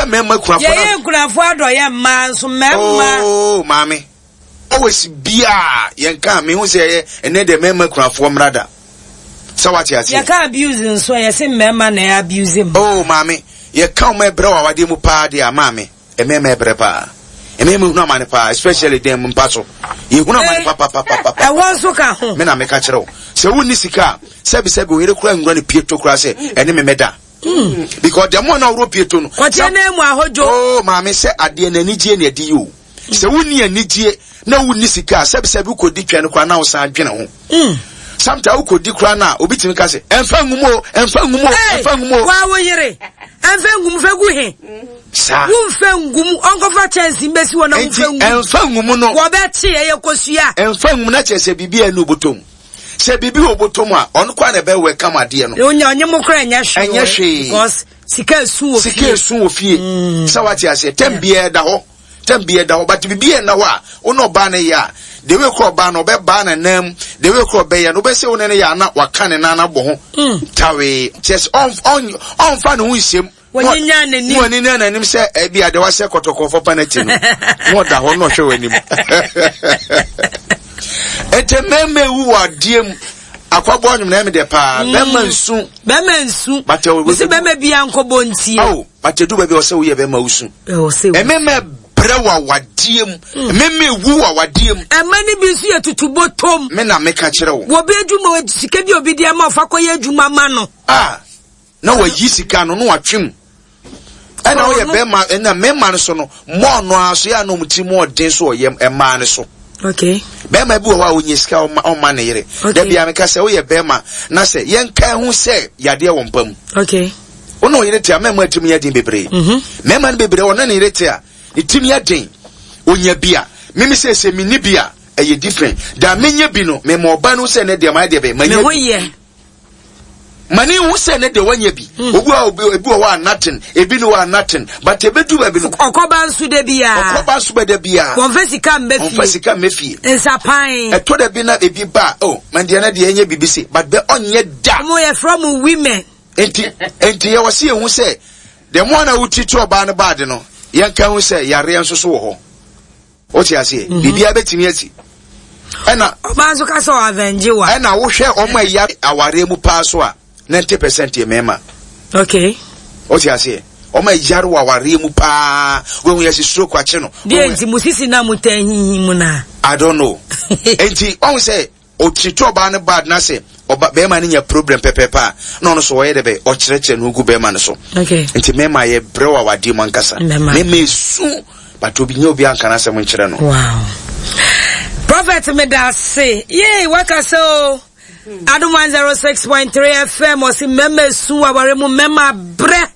Wohwɛ mmarima akunafoɔ na. Yɛyɛ nkunafoɔ adɔyɛ mmaa nso mmarima. Oo maame always biaa yɛn ka mehu sɛ ɛyɛ ɛnɛ deɛ mmarima akunafoɔ mmra da sɛ wate aseɛ. Yɛka abuse nso a yɛse mmarima na ɛyɛ abuse mmaa. Oo maame yɛka wɔn ɛbrɛ wɔ awadeɛ mu paa deɛ a maame mmarima ɛbrɛ paa mmarima hunu amane paa especially dɛn mpa so yɛhunu amane papapapapa. Ɛwɔ nso ka ho. Me na meka kyerɛ wo sɛ wonni sika a sɛbisɛbi wo yere koraa nwura ne pieto koraa sɛ ɛne me mɛda. Mm. Because the more na ɔwɔ pieto no. Kɔkyɛ na emu ahodwo. Oh maame sɛ adeɛ na anigye na ɛde yi o. Sɛ wonni anigye na wonni sika a sɛbisɛbi wokɔdi twɛn no koraa na wosan dwene ho. Mm. Sometimes wokɔdi koraa na obi tumi ka sɛ ɛmfa ngu mu o ɛmfa ngu mu o ɛmfa ngu mu o. Waa wo yere ɛmfa ngu mu fɛ gu he. Saa. Womfa ngu mu ɔnkɔfa kyɛnse mbɛsi hɔ na womfa ngu mu. Ɛmfa ngu mu no. Wɔbɛkye ɛyɛ kosua. Ɛmfa ngu mu na kyerɛ sɛ biribi a ɛnu bɔtɔ mu. Sɛ biribi wɔ bɔtɔ mu a, ɔno koraa na ɛbɛ welcome adeɛ no. Onya ɔnye mo koraa ɛnyɛ hwee. Ɛnyɛ hwee. Because sika esu wɔ fie. Sika esu wɔ fie. Mm. Sɛ wate aseɛ, tɛm biara da hɔ. Tɛm biara da hɔ. But biribi yɛ nna hɔ a, wo ne ɔbaa no yɛ a, the way kora ɔbaa no, ɔbɛbaa ne nan mu, the way kora ɔbɛyɛ no, wobɛsɛ wo ne no yɛ a na waka ne nan abɔ ho. Mm. Tawee. Kyerɛ sɛ ɔmfa ne ho nhyɛm. Wɔnyinya n'anim. Wɔnyinya n'anim sɛ ebi ade wahyɛ kɔtɔkɔfɔ panati no. Na ɔda hɔ na ɔhwɛ w'anim. Nti mmarima ewu wɔ adeɛ mu. Akwaboa nnwom na ɛmi dɛ paa. Mm. Bɛrima nsu. Bɛrima nsu. Bàtɛ o. Bisi bɛrima bi ankɔbɔ ntie. Awo bàtɛ du baabi ɔsɛ woyɛ bɛrima wusu. Ɔsɛ wusu. Mmarima brɛ wɔ awadeɛ mu. Mm. Mmarima ewu wɔ awadeɛ mu. Ɛmɛ ni bi nso yɛ tutu bɔtɔm. Me na meka kyerɛ wo. Wɔ bi adwuma sika bi obi di ama ɔfa kɔ yɛ adwuma ma no. Ah. na wayi sika no na watwe mu ɛna ɔyɛ bɛrima ɛna mmarima no so no mɔɔ no ara so yɛ a na wɔn ti mu ɔden so ɔyɛ mmaa no so. Okay. Bɛrima bi wɔ hɔ a onye sika ɔma ɔma ne yere. Okay. Dabi a meka sɛ woyɛ bɛrima na sɛ yɛnka ho sɛ yadeɛ wɔ mpa mu. Okay. Wo ne ɔyere te a mmarima tirim yɛ den bebree. Mhm. Mmarima no bebree ɔne ne yere te a ne tirim yɛ den. Onya bi a mimi sɛ sɛ menni bi a ɛyɛ different. Da menya bi no mema ɔba no sɛ ne deɛ mayɛ deɛ bɛyɛ manya Me ho bi. yɛ. Ma ne nhu sɛ ne deɛ wanya bi. Hmm. Obi a obi ebi wɔ hɔ a nothing, ebi ne hɔ a nothing. But ebedu baabi no. Ɔkɔba nso da biara. Ɔkɔba nso bɛ da biara. Wɔnfɛ sika mbɛ fie. Wɔnfɛ sika mbɛ fie. Nsapan. Ɛtɔ da bi na ebi ba oh man deɛ na deɛ ɛnyɛ bibi se but bɛ ɔnyɛ da. Wɔn yɛ frɛ mo women. Nti nti yɛ wɔ se yɛn ho sɛ the more na wotiti ɔbaa no baade no yɛn ka ho sɛ yareɛ nso so wɔ hɔ. Wote aseɛ? Mhm. Biribiara bɛtumi asi. Ɛna. Ɔbaa nso ka sɛ ɔavɛngye wa. Ɛna wohwɛ wɔn a ɛya awareɛ mu paa so a, 90% yɛ mmarima. Okay. Wote aseɛ? Wɔn a ɛyare wɔ awareɛ mu paa, wɔn yɛ si stroke akye no. Deɛ nti mo sisi na mo tɛn hinhin mu na. I don't know. Nti wɔn sɛ Ɔtreat ɔbaa no bad na sɛ ɔba bɛrima no nya problem pɛpɛɛpɛ a na ɔno so ɔyɛ dɛ bɛ ɔkyerɛkyerɛ ne ho gu bɛrima no so. Okay. Nti mɛma yɛ brɛ wɔ awadeɛ mu ankasa. Mɛma esu but obi nyɛ obi anka n'asɛm nkyerɛ no. Wow. Prophet medase. Yay wakasa o. Adom 106.3 FM ɔsi mɛma esu aware mu mɛma brɛ.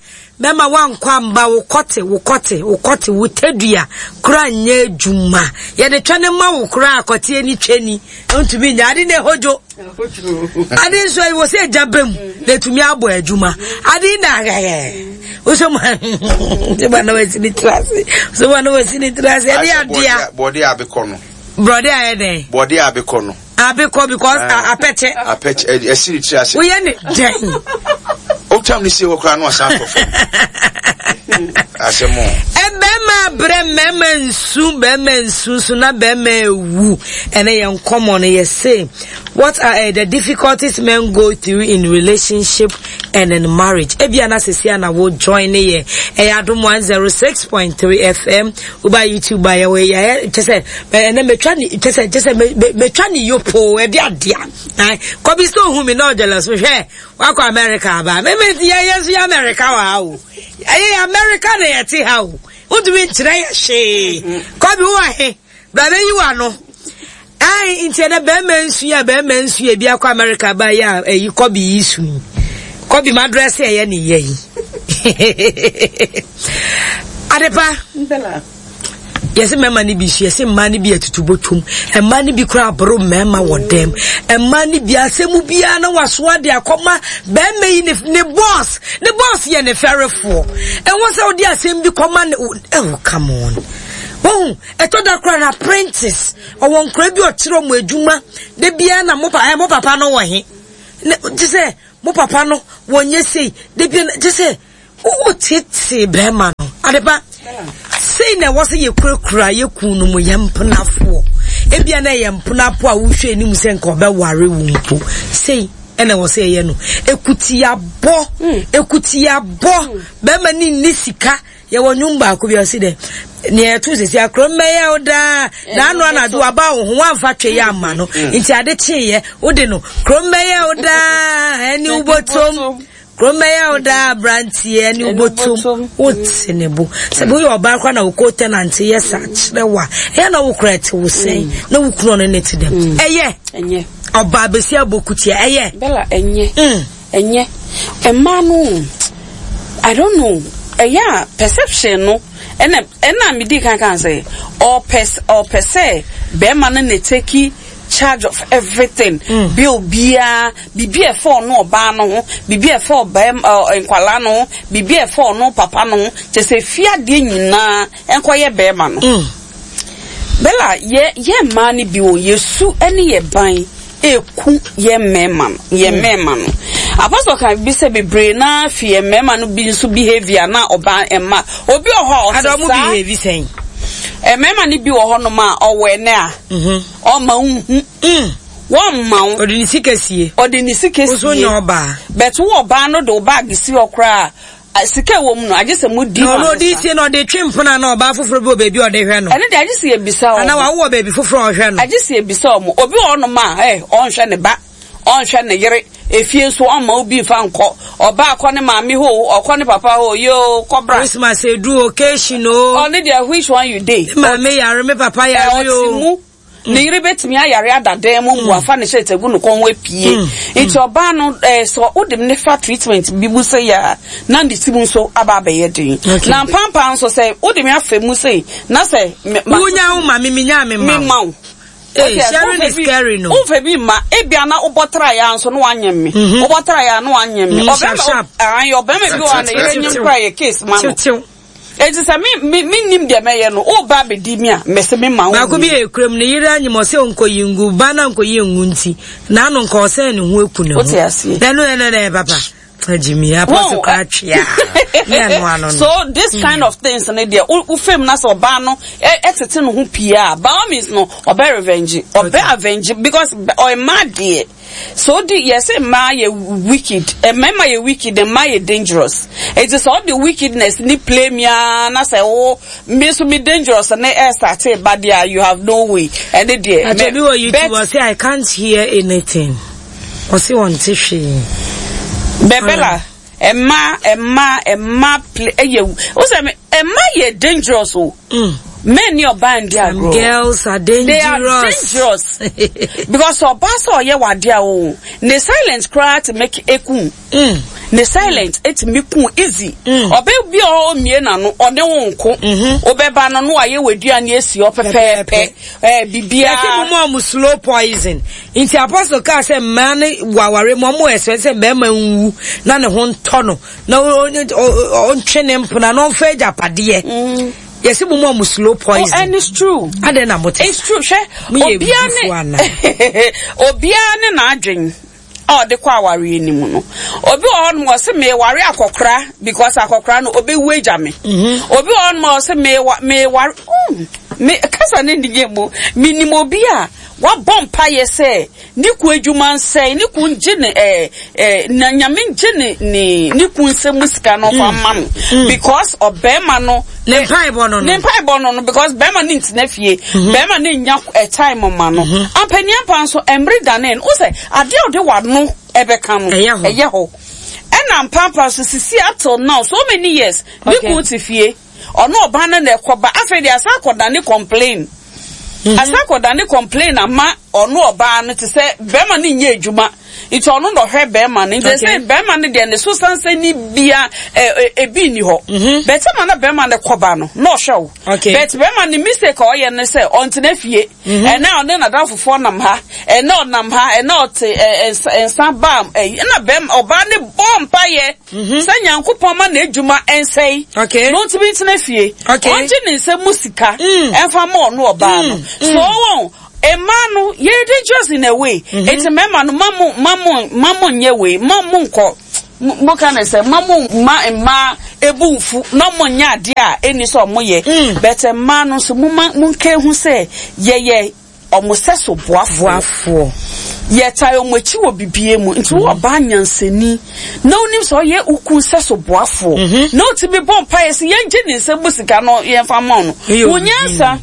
Bɛma woankɔ amba, wo kɔte, wo kɔte, wo kɔte, wo tadua koraa nyɛ adwuma. Yɛde twɛ no ma wo koraa kɔte ani twɛ ni, ntumi nyɛ. Ade na ɛhodwo. Ade nso ɛwɔ sɛ ɛgya bɛ mu na ɛtumi abɔ adwuma. Ade na ahɛhɛ. Wosɛ mu sɛ ma na wasi ne tiri ase. Sɛ ma na wasi ne tiri ase. Ɛde adea. Bɔde a abekɔ no. Brɔde ayɛ dɛn? Bɔde a abekɔ no. Abekɔ because ah. apɛkyɛ. Apɛkyɛ ɛsi ne tiri ase. Woyɛ ne dɛn? Otwam ne sie hɔ koraa na ɔsan atɔ fam. Asɛm o. Bɛrima abrɛ mmarima nsu bɛrima nsu nso na bɛrima ewu ɛnɛ yɛn nkɔmɔ no yɛ se what are uh, the difficulties men go through in relationship and in marriage ebia na sisi ana wo join ne yɛ ɛyɛ adum 106.3 fm woba youtube a yɛwɔ yɛ kyɛ sɛ ɛnɛ metwa ne kyɛ sɛ kyɛ sɛ metwa ne yopoo ɛde adea kɔbi sɛ ohun mi na ɔgyɛlɛ so hwɛ wakɔ america aba meme yɛ yɛ nso yɛ america wɔ ha o ɛyɛ yɛ america na yɛte ha o wotumi nkyerɛ yɛ hwee kɔbi wɔ he bra bɛyi wɔ ano Ae nti ɛnɛ bɛrima nsu a bɛrima nsu ebi akɔ America ba yi a ɛyi kɔbi yi su yi kɔbi ma dress ɛyɛ ne yɛ yi adepa yɛsɛ mmarima no bi su yɛsɛ mmaa no bi atutu bɔtwom mmaa no bi kora aboro mmarima wɔ dɛm mmaa no bi asɛm biara na wasoa de akɔma bɛrima yi ne boss ne boss yɛ ne fɛrefoɔ ɛwɔ sɛ wode asɛm bi kɔma ne oh come on wɔn Ɛtɔ da koraa na apprentice, ɔwɔ nkora bi ɔkyerɛ ɔmo adwuma, da biara na mo pa, eh, mo papa no wɔ he? Ne, gye sɛ, mo papa no, wɔnyɛ sei, da biara, gye sɛ, wo tete bɛrima no. Adepa, sei na ɛwɔ sɛ yɛkurakura yɛ kun no mu yɛ mpenafoɔ. Ebia na ɛyɛ mpenafoɔ a wohwɛ anim sɛ nka ɔbɛware wo mpo. Sei ɛna ɛwɔ sɛ yɛyɛ no. Ekutiabɔ, ekutiabɔ, bɛrima ne nni sika. Yɛwɔ nnwom baako bi ɔsi dɛ nea ɛto sisi akoro mmɛyɛ wo daa na ano anadwo waba wo ho wamfa twe yɛ ama no mm. nti ade kyeeɛ wode no kuro mmɛyɛ wo daa ɛne wobɔtom kuro mmɛyɛ wo daa aberanteɛ ɛne wobɔtom wote ne bo sɛ woyɛ ɔbaa koraa na wokɔ tɛnante yɛ saa kyerɛ wo a ɛyɛ na wo koraa ɛte wo sɛn mm. na wo kunu ɔno ne te dɛm mm. ɛyɛ ɔbaa bɛsi abɔ kutia ɛyɛ bɛla ɛnyɛ Ɛnyɛ. Mmaa no I don't know ɛyɛ a perception no ɛna ɛna me di kan kan sɛ ɔpɛ ɔpɛ sɛ bɛrima no na take charge of everything mm. bill biara biribi a ɛfɔ ɔno ɔbaa no ho biribi a ɛfɔ ɔbɛrima ɔ nkwalaa no ho biribi a ɛfɔ ɔno papa no ho kyɛ sɛ fi adeɛ nyinaa nkɔyɛ bɛrima no. Mm. Bella, yɛ yɛ mmaa no bi wɔ yɛ su ne yɛ ban eku yɛ mmarima no yɛ mm. mmarima no. Apostle kan bi sɛ bebree naa fi yɛ mmarima no bi nso behavior na ɔbaa mma obi wɔ hɔ a ɔte saa. Adɔm behave sɛn? Mmarima no bi wɔ hɔ nom a ɔwɔ ɛnɛ a mhm. ɔma nhu. Mm. Wɔmma wo. Ɔde ne sika sie. Ɔde ne sika sie. Nso nyɛ ɔbaa. Bɛt wo ɔbaa no de wo baagi si hɔ koraa. Sika a ɛwɔ mu no, agye sɛ modi ho Na ɔno ɔde sie na ɔde twe mpena na ɔbaa foforɔ bi wɔ baabi a ɔde hwɛ no. Ɛno deɛ agye sɛ yɛbisa wɔn. Anaa wawo wɔ baabi foforɔ a ɔhwɛ no. Agye sɛ yɛbisa wɔn. Obi wɔ hɔnom a, ɛ, ɔnhwɛ ne ba, ɔnhwɛ ne yere, efie nso ɔmma obi mfa nkɔ. Ɔbaa kɔ ne maame hɔ o, ɔkɔ ne papa hɔ o, yoo, kɔ bra. Christmas edu occasion o. Ɔno deɛ which one you dey? Me maame yare, me papa yare o. Ɔte mu. Ne yere betumi ayare ada dan mu mpo afa ne shirt agu ne kɔn ho apue. Nti ɔbaa no eh, sɛ wode ne fa treatment bi mu sei a, na ne ti mu nso aba abɛyɛ den. Na mpampaa nso sɛ wode me afa mu sei na sɛ me ma Wonya wo ma me menya me ma wo. Me ma wo. Hey, sharing is caring no. Womfa bi mma ebia na wobɔ tra ya nso na wanyem me. Wobɔ tra ya na wanyem me. Ɔbɛma ɔbɛma bi wɔ a na yere nyem kora yɛ case ma no. Enti sɛ me, me, mennim deɛ mɛyɛ no, woreba abɛdi me a, mese memma wo Baako bi yɛ kurom, ne yere anyem, ɔsɛ ɔnkɔyi ngu, ba no ankɔyi ngu nti, n'ano nka ɔsɛn ne ho aku ne ho. Wote aseɛ? Na ɛno ɛno ɛyɛ papa. Agyimi, apɔso kora twea. Ne ɛno ano no. So this kind of things ne deɛ, wo fam na sɛ ɔbaa no ɛtete ne ho pii a, by all means no, ɔbɛ revenge, ɔbɛ avenge because ɔmmaa deɛ. So odi yɛse mmaa yɛ wicked mmarima yɛ wicked mmaa yɛ dangerous eti sɛ ɔde wickedness ni play mi aa na sɛ wo me nso me dangerous ne ɛsate ba deɛ you have no way ɛne deɛ. Atwa bi wɔ YouTube ɔse I can't hear anything ɔse ɔnte hwee. Bɛbɛla Mmaa mmaa mmaa play ɛyɛ wo sɛ mmaa yɛ dangerous o. Mm. Men ni ɔbaa ndi agorɔ. Some girls are dangerous. They are dangerous. Because ɔbaa sɛ ɔyɛ wade a o ne silent koraa te make eku. Mm. Ne silent etumi ku easy. Mm. Ɔbɛ bi a ɔmie n'ano ɔne wo nko. Mm-hmm. Ɔbɛba no no ayɛ w'aduane esi hɔ pɛpɛɛpɛ. Ɛɛ biribiara. Yɛsɛ mo mu a mo slow poison. Nti apostle kaa sɛ mmaa no wɔ aware mu ɔmo ɛsɛ sɛ bɛrima nwu na ne ho ntɔ no na ɔntwe ne mpena na ɔmfa agyapadeɛ. Mm. Yɛsɛ mo mu a mo slow poison. Oh, and it's true. Adɛn na mo te. It's true. Hwɛ obiara ne obiara ne n'adwen a ɔde kɔ awareɛ no mu no. Obi wɔ hɔnom ɔse meware akɔkora because akɔkora no ɔbɛwu agya me. Mhm. Obi wɔ hɔnom ɔse meware mm, me kasa ne ndigye mu menim obi a wabɔ mpaeɛ sɛ ne ku adwuma nsɛe ne ku ngye ne ɛɛ ɛɛ na nyame ngye ne ne ne ku nsɛm mu sika no ɔfa mm. ma no mm. because ɔbɛrima no ne mpaebɔ no no ne mpaebɔ no no because bɛrima no ntena fie mhm. bɛrima no nya eh, time ma no mhm. ampaniampa nso mmere dane no wosɛ adeɛ a ɔde wano ɛbɛka no ɛyɛ hɔ ɛna mpampa so sisi up till now so many years ne kun te fie ɔno ɔba no na ɛkɔba afei de asa akɔda ne complain mhm. asa akɔda ne complain ama ɔno ɔbaa no te sɛ bɛrima no nyɛ adwuma nti ɔno na ɔhwɛ bɛrima no nti sɛ bɛrima no deɛ ne so sansani bia ebi nni hɔ mhm. bɛtɛ ma na bɛrima no kɔba no na ɔhwɛ wo bɛt bɛrima no mistake a ɔyɛ no sɛ ɔntena fie mhm. ɛnɛ ɔne n'adamfofoɔ nam ha ɛnɛ ɔnam ha ɛnɛ ɔte nsa baa ɛna bɛrima ɔbaa ne bɔ mpaeɛ mhm. sɛ nyankopɔn ma n'adwuma ɛnsɛe na ɔntumi ntena fie ɔngye ne nsam mu sika mm. ɛmfa ma ɔno ɔbaa no mm. so wɔn mmaa no yɛ dangerous in a way mm-hmm. eti mmarima no ma mo ma mo ma mo nyɛ wei ma mo nkɔ mo ka ne sɛ ma mo ma mmaa bo mfu na ɔmo nyɛ adeɛ a ɛnni sɛ ɔmo yɛ. Mm. But mmaa no nso momma monka ehu sɛ yɛyɛ ɔmo sɛso boafoɔ. Boafoɔ. Yɛtae ɔmo akyi wɔ bibie mu. Nti wo ɔbaa nyansani na wonim sɛ ɔyɛ wo kun sɛso boafoɔ mm-hmm. na wotumi bɔ mpaeɛ sɛ yɛngye ne nsam mu sika no yɛmfa mma no. Wo nyansa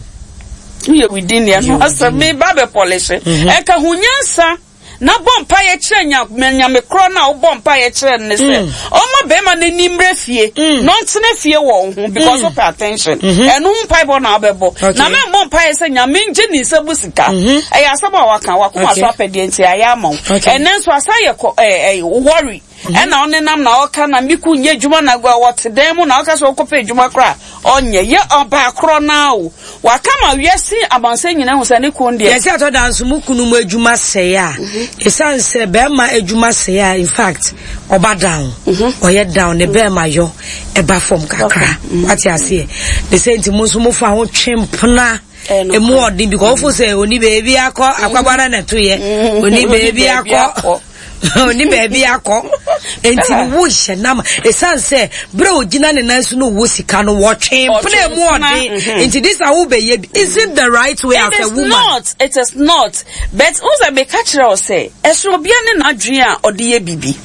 woyɛ within deɛ no asɛm meba bɛ pɔlehye. Mm-hmm. Ɛka ho nyansa. Na bɔ mpaeɛ kyerɛ Nyame korɔ no a wobɔ mpaeɛ kyerɛ no ne sɛ mm. ɔma bɛrima no ani mmerɛ fie mm. na ɔntena fie wɔ wo ho because mm. wopɛ attention mm-hmm. ɛno ho mpaebɔ na wobɛbɔ na mɛmmɔ mpaeɛ sɛ Nyame ngye ne nsa mu sika mm-hmm. ɛyɛ asɛm a waka wakoma so apɛdeɛ nti ayɛ ama wo ɛnɛ nso asan yɛ worry mm-hmm. ɛna ɔnenam na ɔka na me kun nyɛ adwuma na wɔte dan mu na ɔka sɛ ɔkɔpɛ adwuma koraa ɔnyɛ yɛ ɔbaa korɔ naa o waka ma wiase abansɛ nyinaa hu sɛ ne kun deɛ. Yɛsɛ ɛtɔ da nso mo kunu mu adwuma sɛe a ɛsiane sɛ bɛrima adwuma sɛe a in fact ɔba down ɔyɛ down ne bɛrima yɔ ɛba fam kakra wate aseɛ ne sɛ nti mo nso mo fa ho twe mpena emu ɔden because wofo sɛ oni baabi akɔ akwabara na ɛto yɛ oni baabi akɔ. Ɔni baabi akɔ. Enti no wo hyɛ nam. Ɛsiane sɛ berɛ a ɔgyina ne nan so no wɔ sika no wɔtwe mpena mu ɔden. Mhm. Nti this a wobɛyɛ bi. Is it the right way as a woman? Not. It is not. But wo sɛ meka kyerɛ wo sɛ ɛsono obiara ne n'adwene a ɔde yɛ biribi.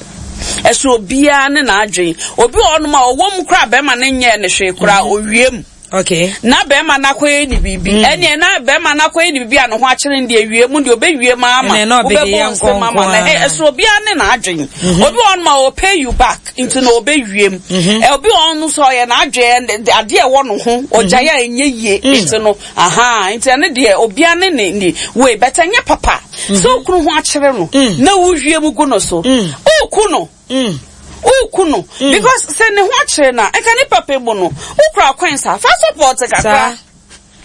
Ɛsono obiara ne n'adwene. Obi wɔ hɔnom a ɔwɔ mu koraa bɛrima no nyɛɛ ne hwee koraa mhm. owie mu. Okay. Na bɛrima no akɔyɛ ne biribi. Mm. Ɛneɛ na bɛrima no akɔyɛ ne biribi a ne ho akyere no deɛ wie mu deɛ ɔbɛwie ma ama. Wobɛbɔ nsɛm ama no. Ɛ ɛso obiara ne n'adwene. Mm-hmm. Obi wɔ hɔ ma ɔ pay you back nti na ɔbɛwie mu. Mm-hmm. Ɛ obi wɔ hɔ no sɛ ɔyɛ n'adwene adeɛ ɛwɔ ne ho ɔgyae a ɛnyɛ yie mm. nti no aha nti ɛno deɛ obiara ne ne ne wei bɛtɛ nyɛ papa. Sɛ okunu ho akyere no mm. na wowie mu gu no so. Woku no. Mm. Woku no. Mm. Because sɛ ne ho akyere no a, nka ne papa mu no, wokura coins a, fa support kakra.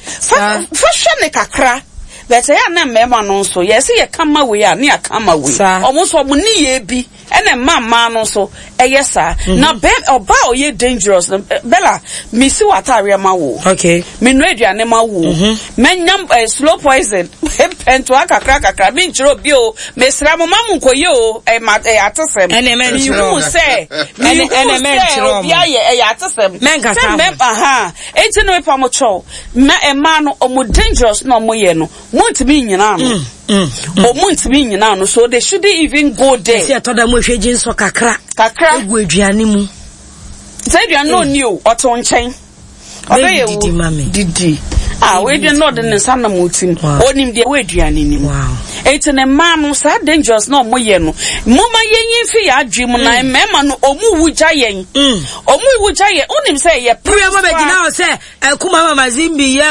Fa fa hwɛ ne kakra. But ɛyɛ a na mmarima no nso, yɛ sɛ yɛka ma wei a, ne yɛaka ma wei. Ɔmo nso ɔmo ne yɛ bi, ɛna mma mmaa no nso ɛyɛ saa. Mm-hmm. Na bɛ ɔbaa a ɔyɛ dangerous no, Bella, mesi wɔ ataareɛ ma wo. Okay. Menoa aduane ma wo. Mm-hmm. Mɛnya eh, slow poison. Mpɛntoa kakra kakra. Menkyerɛ obi o. Mesrɛ mo ma mo nkɔyɛ o. Ɛyɛ ma ɛyɛ atesɛm. Ɛnɛ mɛnkyerɛ Mehu sɛ mehu sɛ obi ayɛ ɛyɛ atesɛm. Mɛnkasa ho. Sɛ mɛ aha. Enti no mepa mo kyɛw. Mɛ mmaa no ɔmo dangerous na ɔmo yɛ no. Mo ntumi nnyina ano. Ɔmo ntumi nnyina ano so they shouldn't even go there. Ɛsɛ ɛtɔ da mo ehwɛ gye nsɔ kakra. Kakra. Egu aduane mu. Sɛ aduane no ɔnni o ɔte wo nkyɛn. Ɔbɛyɛ wo didi. Ah, wei deɛ na ɔde ne nsa nam wo tim. Ɔnim deɛ ɛwɔ aduane no mu. Eti ne mmaa no saa dangerous na ɔmo yɛ no. Moma yɛnyi mfi yɛn adwene mu na mm. mmarima no ɔmo wu gya yɛn. Mm. Ɔmo wu gya yɛn. Wonim sɛ yɛ pere. Wúyɛ bɛ gyina hɔ sɛ ɛkuma mama zimbi yɛ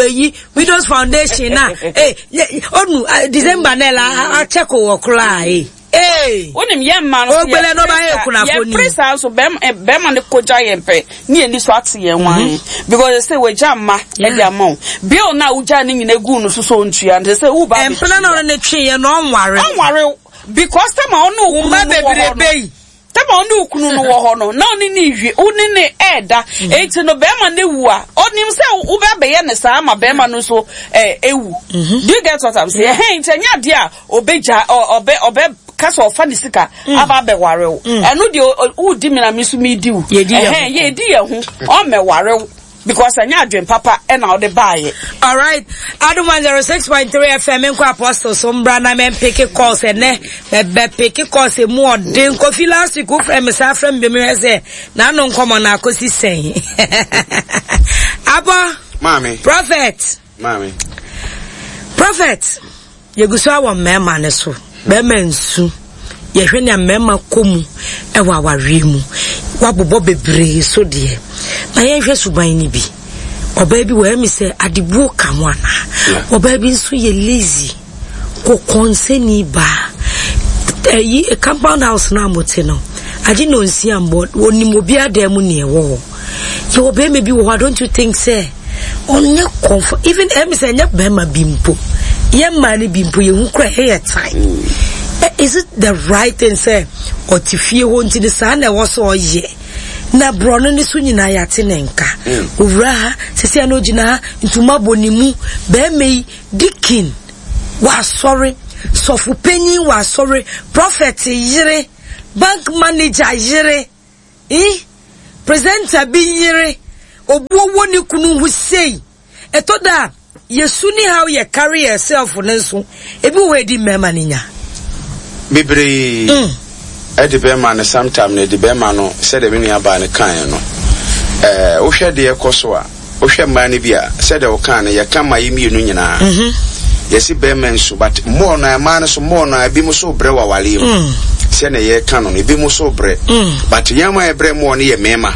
eyi Widows Foundation na ee ɔnu December nɛ la akyɛ ko wɔ koraa ee. Ee! Wonim yɛn mmaa no Ogbele no ba yɛ kunafo ni. Yɛpere saa nso bɛrima eh, bɛrima no kogya yɛn pɛ ne yɛn ni so ate yɛn wan mhm. because sɛ wagya mma ɛde ama wo bill na wogya ne nyina gu no so so ntua nti sɛ woba mpena na ɔno ne twe yɛ no ɔnware ɔnware because tɛma ɔne wo kunu no wɔ hɔ no tɛma ɔne wo kunu no wɔ hɔ no na ɔne ne wie wo ne ne ɛɛda mhm. eti no bɛrima no ewu a ɔnim sɛ wobɛbɛyɛ ne saa ama bɛrima no nso ɛɛ ewu mhm. do you get what i'm saying ɛhɛn nti ɛnyɛ adeɛ a Ɔbɛgya, ɔbɛ, ɔbɛ ka sɛ ɔfa ne sika mm. aba abɛware wo. Mm. Ɛno deɛ wodi mi na mi nso mi di wo. Ɛhɛn, yɛdi yɛn ho, ɔmmɛware wo because ɛnyɛ adwen papa ɛna ɔde baayɛ. Alright, Adum 106.3 FM nkɔ Apostle so mbra na mɛ mpeke calls ɛnɛ mɛbɛ peke calls emu ɔden kofi last week wofrɛ me saa frɛ me bi mehwɛ sɛ n'ano nkɔmɔ na akosi sɛn. Abɔ. Maame. Prophet. Maame. Prophet. Yɛgu so ara wɔ mmarima no so. Barima nsu. Yɛhwɛ nea mmarima kɔ mu wɔ awareɛ mu. Woabobɔ bebree so deɛ. Na yɛnhwɛ suban no bi. Ɔbaa bi wɔ ɛmi sɛ adebuo ka ho anaa. Ɔbaa bi nso yɛ lazy. Kɔkɔnsɛni baa. Ɛyi compound house no a mote no. Agye na onsia mbɔ. Onim obiara dan mu nea ɛwɔ hɔ. Yɛwɔ bɛrima bi wɔ hɔ a don't you think sɛ ɔnyɛ comfort even ɛmi sɛ ɛnyɛ bɛrima bi mpo yɛ mmaa no bi mpo yɛn ho kura ɛyɛ time eh, is it the right thing sɛ ɔte fie hɔ nti ne saa na ɛwɔ so ɔyɛ na borɔno ne so nyinaa yɛate ne nka mm. owura ha sisi ano gyina ha ntoma bɔ ne mu bɛrima yi dikin wɔ asɔre sɔfo panyin wɔ asɔre prɔfɛt yere bank manager yere. Eh? Presenter bi yere, obuo wɔ ne kunu ho sei. Ɛtɔ da a, yɛ su ne how yɛ carry yɛ self no nso, ebi wɔ hɔ a ɛdi mmarima no nya. Bebree ɛde bɛrima no sometime no ɛde bɛrima no sɛdeɛ me nua baa no kaeɛ no ɛɛ wohwɛ deɛ ɛkɔ so a wohwɛ mmaa no bi a sɛdeɛ wokaa no yɛka ma yɛ mmienu nyinaa yɛsi bɛrima nsu but more na mmaa no so more na ebi mo so brɛ wɔ awareɛ mu sɛdeɛ yɛka no no ebi mo so brɛ but yɛn ma yɛbrɛ more no yɛ mmarima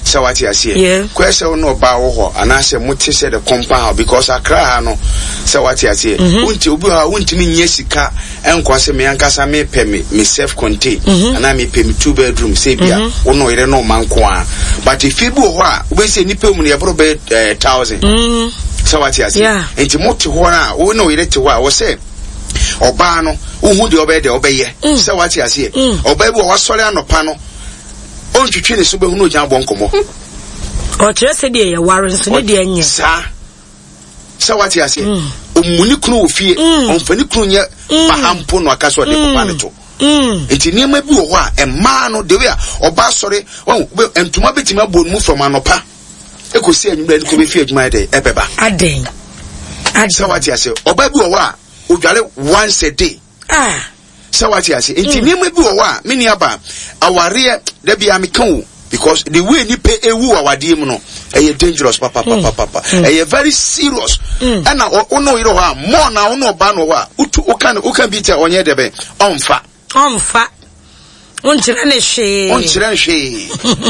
sɛ wate aseɛ kɔɛ sɛ wo ne ɔbaa wɔ hɔ anaasɛ mote sɛ the compound house because akra ha no sɛ wate aseɛ mm-hmm. wonti obi hɔ a wontumi nyɛ sika nkɔ sɛ me ankasa mepɛ me me self contain mm-hmm. anaa mepɛ me two bedroom sɛ bia mm-hmm. wo ne ɔyere ne ɔma nko a but efie bi wɔ hɔ a wobɛsɛ nnipa mu no yɛboro bɛyɛ eh, thousand sɛ wate aseɛ nti mote hɔ no a wo ne ɔyere te hɔ a wɔ sɛ ɔbaa no wohu deɛ ɔbɛyɛ deɛ ɔbɛyɛ mm. sɛ wate aseɛ mm. ɔbaa bi wɔ wasɔre anɔpa no ɔntwitwi ne so bɛhunu ogya abɔ nkɔmmɔ ɔkyerɛ sɛ deɛ yɛware nso ne deɛ nyɛ saa sɛ wate aseɛ mm. ɔmmu ne kunu wɔ fie mm. ɔmfa ne kunu nyɛ mm. baha mpo na ɔka sɛ ɔde papa ne to nti nneɛma bi wɔ hɔ a mmaa no the way a ɔba asɔre ntoma bɛtumi abɔ ne mu from anɔpa ɛkɔsi anwummerɛ ne kɔ bɛfi adwuma yɛ dɛ ɛbɛba adɛn sɛ wate aseɛ ɔba bi wɔ hɔ a ɔdware once a day ah. Sɛ wate ase. Nti mm. nneɛma bi wɔ hɔ a me nua ba awareɛ da bi a meka o because the way nipa ewu wɔ awadeɛ mu no ɛyɛ dangerous papapapapa mm. mm. ɛyɛ very serious ɛna ɔno ɔyere hɔ a mɔɔ na ɔno ɔba no hɔ a wotu woka no woka bi tɛ ɔnyɛ dɛbɛ ɔnfa. Ɔnfa. Wonkyerɛ ne hwee. Wonkyerɛ ne hwee.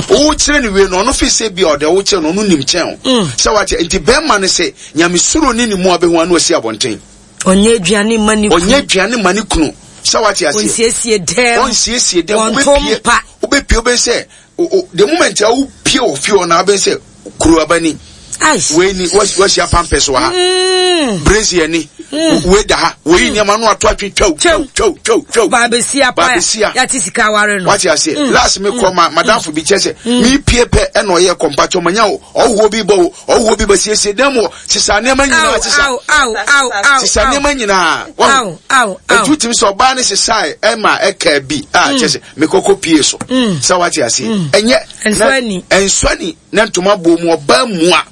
Wokyerɛ ne wie no ɔno fi sɛ bi a ɔde wokyerɛ no ɔno nim kyɛn o. Sɛ wate nti bɛrima no sɛ nyamesuro ne ne mu abɛhu ano asi abɔnten. Ɔnyɛ aduane mma ne kunu. Ɔnyɛ aduane mma ne kunu. Sɛ wate aseɛ. Ɔnsiesie dɛm. Ɔnsiesie dɛm. Wɔnto mpa. Wobɛpie wobɛn sɛ the moment a wopie wɔ fie hɔ na wobɛn sɛ kuro aba ni. Wei ni wahyia pampers wɔ ha. Mm. Brazier ni. Mm. Wei da ha. Wei mm. nneɛma no ato atwe twɛw twɛw twɛw twɛw twɛw. Baabesia pa. Baabesia. Yate sika aware no. Wate aseɛ. Mm. Last me kɔ ma madamfo bi kyɛ sɛ mi pie pɛ ɛna ɔyɛ kɔmpatwɔ manya o ɔhoɔ bi bɔ o ɔhoɔ bi bɛ siesie dan mu hɔ sesa nneɛma nyinaa sesa sesa nneɛma nyinaa wɔn etu tumi sɛ ɔbaa ne sesae ɛma ɛka bi a mm. kyɛ sɛ mekɔkɔ pie so mm. sɛ wate ase mm. ɛnyɛ nsɔni na ntoma bɔ mu ɔbaa mua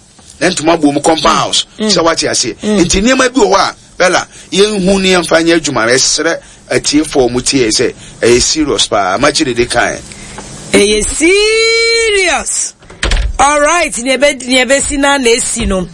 na ntoma bɔ mu compound house sɛ wate ase nti nneɛma bi wɔ hɔ a Bella, yɛnhu ne yɛmfa nyɛ adwuma. Yɛsrɛ atiefoɔ a wɔtie sɛ ɛyɛ serious paa. Makyi dede kae. Ɛyɛ serious. Alright, nea ɛbɛsi na na esi no.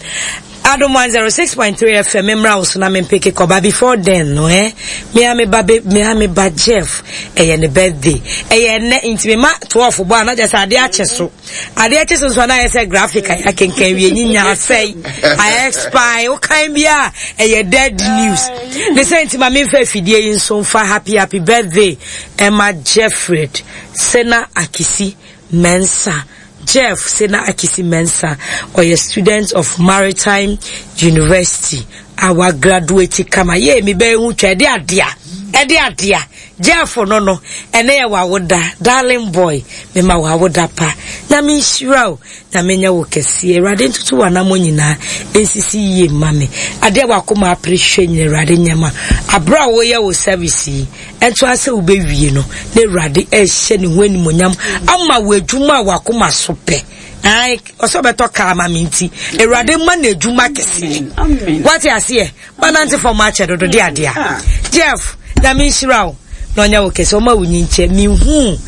Adom 106.3 FM mmra wo so na mempeke kɔba before then no eh me a me ba me a me ba Jeff ɛyɛ ne birthday ɛyɛ ɛnɛ nti me ma 12 bɔ a na kyerɛ sɛ adeɛ akye so Adeɛ kye so nso na ayɛ sɛ graphic a yɛakenkan wie nyinya asɛe ayɛ expire wokan bi a ɛyɛ dead news ne sɛ nti ma memfa afidie yi nso mfa happy happy birthday ɛma Jeffred Sena Akisi Mensah Jeff Sena Akisi Mensah ɔyɛ student of Maritime University a wagraduate kama yɛ mi bɛyɛ ho twa ɛde adea ɛde adea Jeff no no ɛnɛ yɛ w'awoda darling boy mema wo awoda pa Nyame nhyira wo Nyame nyɛ wo kɛseɛ Awurade ntoto w'anamɔ nyinaa nsisi yie mma me adeɛ w'akoma apere hwɛ nyina Awurade nyɛ ma aberɛ a woyɛ wo service yi ɛnto ara sɛ wobɛwie no na Awurade ɛhyɛ ne ho animonyam ama wo adwuma a w'akoma so pɛ Ae, ɔsɛ ɔbɛtɔ kaa ma me nti Awurade ma no adwuma kɛseɛ wate aseɛ Manante fam akyɛ dodo de adeɛ a. Jeff, Nyame nhyira wo na ɔnyɛ wo kɛse ɔma wo nyinkyɛ. Mehu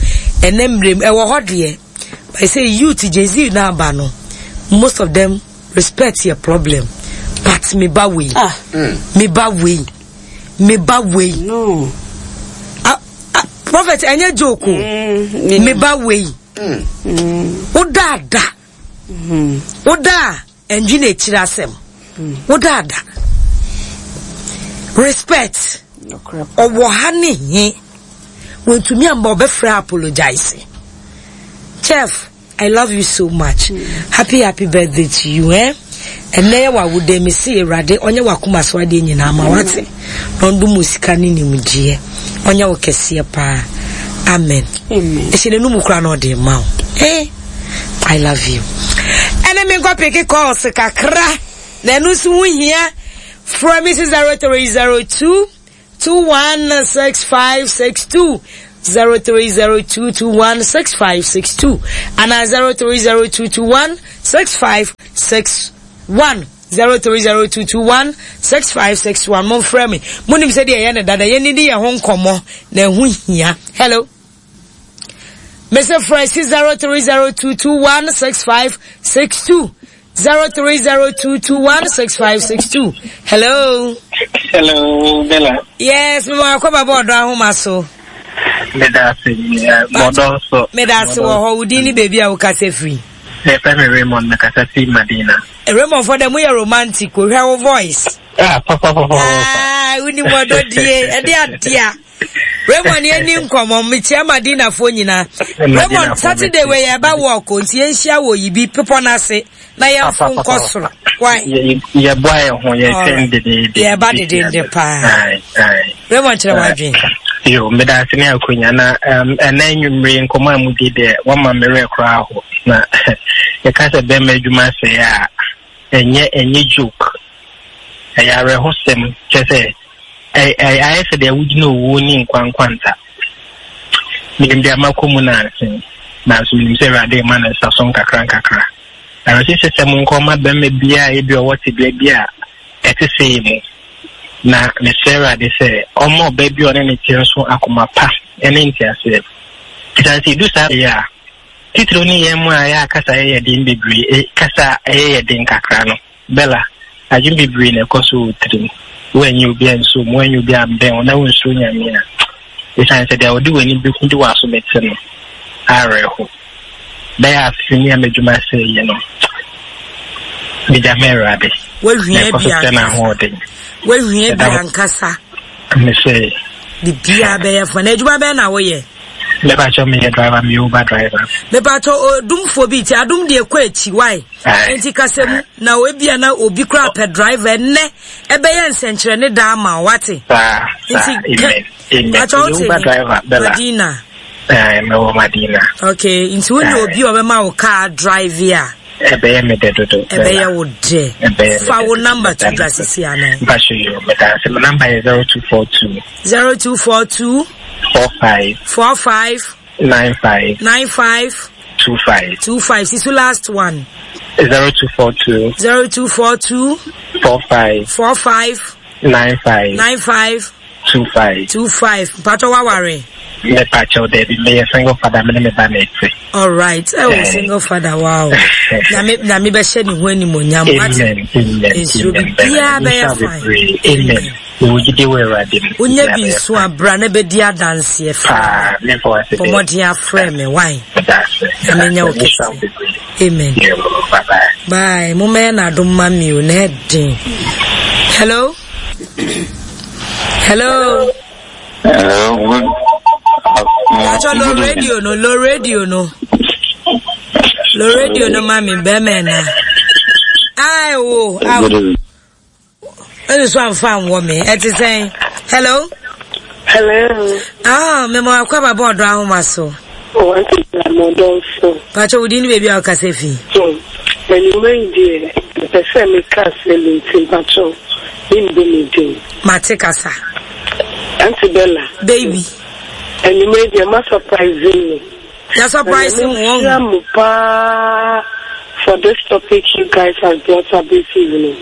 ɛnɛ mmerɛ mu ɛwɔ hɔ deɛ but sɛ youth Gen Z na aba no most of them respect yɛ problem but me ba wei ah. me ba wei me ba wei no. Ah, ah, prophet ɛnyɛ joke o mm, me ba wei mm. wodaada mm. wodaa Ɛndwene akyiri asɛm. Wodaada. Respect. Ɔwɔ ha ne he. Wantumi amma ɔbɛfrɛ apologize. Chef, I love you so much. Happy happy birthday to you eh. Ɛnɛ yɛ w'awoda me se Awurade ɔnyɛ w'akoma so adeɛ nyinaa ma wate. Na ɔndom wo sika ne nimdeɛ. Ɔnyɛ wo kɛseɛ paa. Amen. Ɛhyɛ n'anum koraa na ɔde ma wo. Eh. I love you. Ɛne me nkɔ peke calls kakra. Na ɛno nso ho hia. Frɛ me si 0302 216562. 0302216562 anaa 0302216561. 0302216561 momfrɛ me monim sɛdeɛ ɛyɛ no dada yɛnidi yɛn ho nkɔmmɔ na ɛho hia hello mese frɛ si 0302216562 0302216562 hello hello Bella yes mema wakɔ baba ɔdɔ ahoma so meda ase bɔdɔ nso meda ase wɔ hɔ wo din ne baabi a wokasa firi Yɛfrɛ me Raymond, mekasa fi Madina. Raymond fɔ dɛ moyɛ romantic o, hwɛ wo voice. Ah, papa, papa, papa. Ah, wonim ɔdɔ die, ɛde adea. Raymond yɛn ni nkɔmɔ, mekyia Madina foɔ nyinaa. Raymond, Saturday wei yɛba walk o, nti yɛnhyia wɔ yibi pepɔ no ase na yɛmfo nkɔ soro. Why? Yɛboa yɛn ho, yɛtwɛn dedeede. Yɛba dedeede paa. Raymond kyerɛ w'adwene. Yo, meda ase ne akonya na ɛnɛ anwummere nkɔmmɔ a mudi deɛ wama me werɛ koraa ho na yɛka sɛ bɛrima adwuma sɛe a ɛnyɛ ɛnyɛ joke ɛyɛ awerɛhosɛm kyɛ sɛ ayɛ sɛ deɛ wogyina owuo ne nkwa nkwanta menim deɛ makɔ mu nanse nanso menim sɛ awurade ma no nsa so nkakra nkakra awerɛhyehyɛ sɛ mo nkɔma bɛrima biara ebi ɔwɔ tebea bi a ɛte sei mu. Na mesrɛ Awurade sɛ ɔmma ɔbaa bi a ɔne ne te nso akoma pa ne nteaseɛ. Ɛsiane sɛ ɛdu saa bere a, titiriw ne yɛn mu a ɛyɛ a kasa yɛ yɛ den bebree, e, kasa a ɛyɛ yɛ den kakra no, Bella, adwene bebree na ɛkɔ so wɔ tirim. Woanyi obi anso mu, woanyi obi ambɛn wo, na wonsuro Nyame a, ɛsiane sɛ deɛ ɔde w'ani bɛhu de w'aso bɛte no, awerɛho. Bɛyɛ afe ni a m'adwuma sɛe yi no, megya ma Awurade. Woahia bi ankasa. Woahia bi ankasa. Mesɛ. Biribiara bɛyɛ fa. Na adwuma bɛn na woyɛ? Mepakyɛ meyɛ driver, meyɛ Uber driver. Mepakyɛ odumfoɔ bi ti adum deɛ kɔ akyi wae. Nti kasa mu na ebia na obi koraa pɛ driver ɛnɛ ɛbɛyɛ nsɛnkyerɛnne daa ma wate. Saa saa amen amen. Pakyɛ wote Uber driver Bella. Madina. Ɛɛ mewɔ Madina. Okay, nti wo ne obi a ɔbɛma wo car drive a. Ɛbɛyɛ me dɛ dodo. Ɛbɛyɛ wo dɛ. Fa wo number to dwa sisi anan. Mpacho yo, meda ase. Me number yɛ 0242. 0242. 45. 45. 95. 95. 25. 25. Sisu last one. 0242. 0242. 45. 45. 95. 95. 25. 25. Mpacho waware. Mepacho debi meyɛ single father me ne me ba na ɛte. All right. Oh, eh. single father wow. Nyame nyame bɛhyɛ ne ho animonyam. Amen. Amen. Nsuro biara bɛyɛ fine. Amen. Mewɔ gyidie wɔ Awurade mu. Wonya bi nso a bra na bɛdi adanseɛ frɛ me. Bɔ mmɔden afrɛ me why? Na menya wo kɛse. Amen. Bye. Mommɛyɛ no adom ma me o na ɛden. Hello? Hello? Hello. Good. Pacho low radio no, low radio no. Low radio no mami bɛmɛ na. Ai wo, awo. Ɛne so amfa anwɔ me. Ɛte sɛn? Hello? Hello. Ah, mema wakɔ aba bɔ ɔdɔ ahoma so. Oh, auntie Bella, mo dɔ so. Pacho, wo din ne baabi a wokasa fi? Anwummerɛ yi deɛ, mepɛ sɛ meka asɛm bi nti mpacho, membɔ me din. Mate kasa. Auntie Bella. Baby. Anwummerɛ yi deɛ, ma surprise me. Ya surprise mu wɔn. Nyame mo paa for this topic you guys have brought up this evening.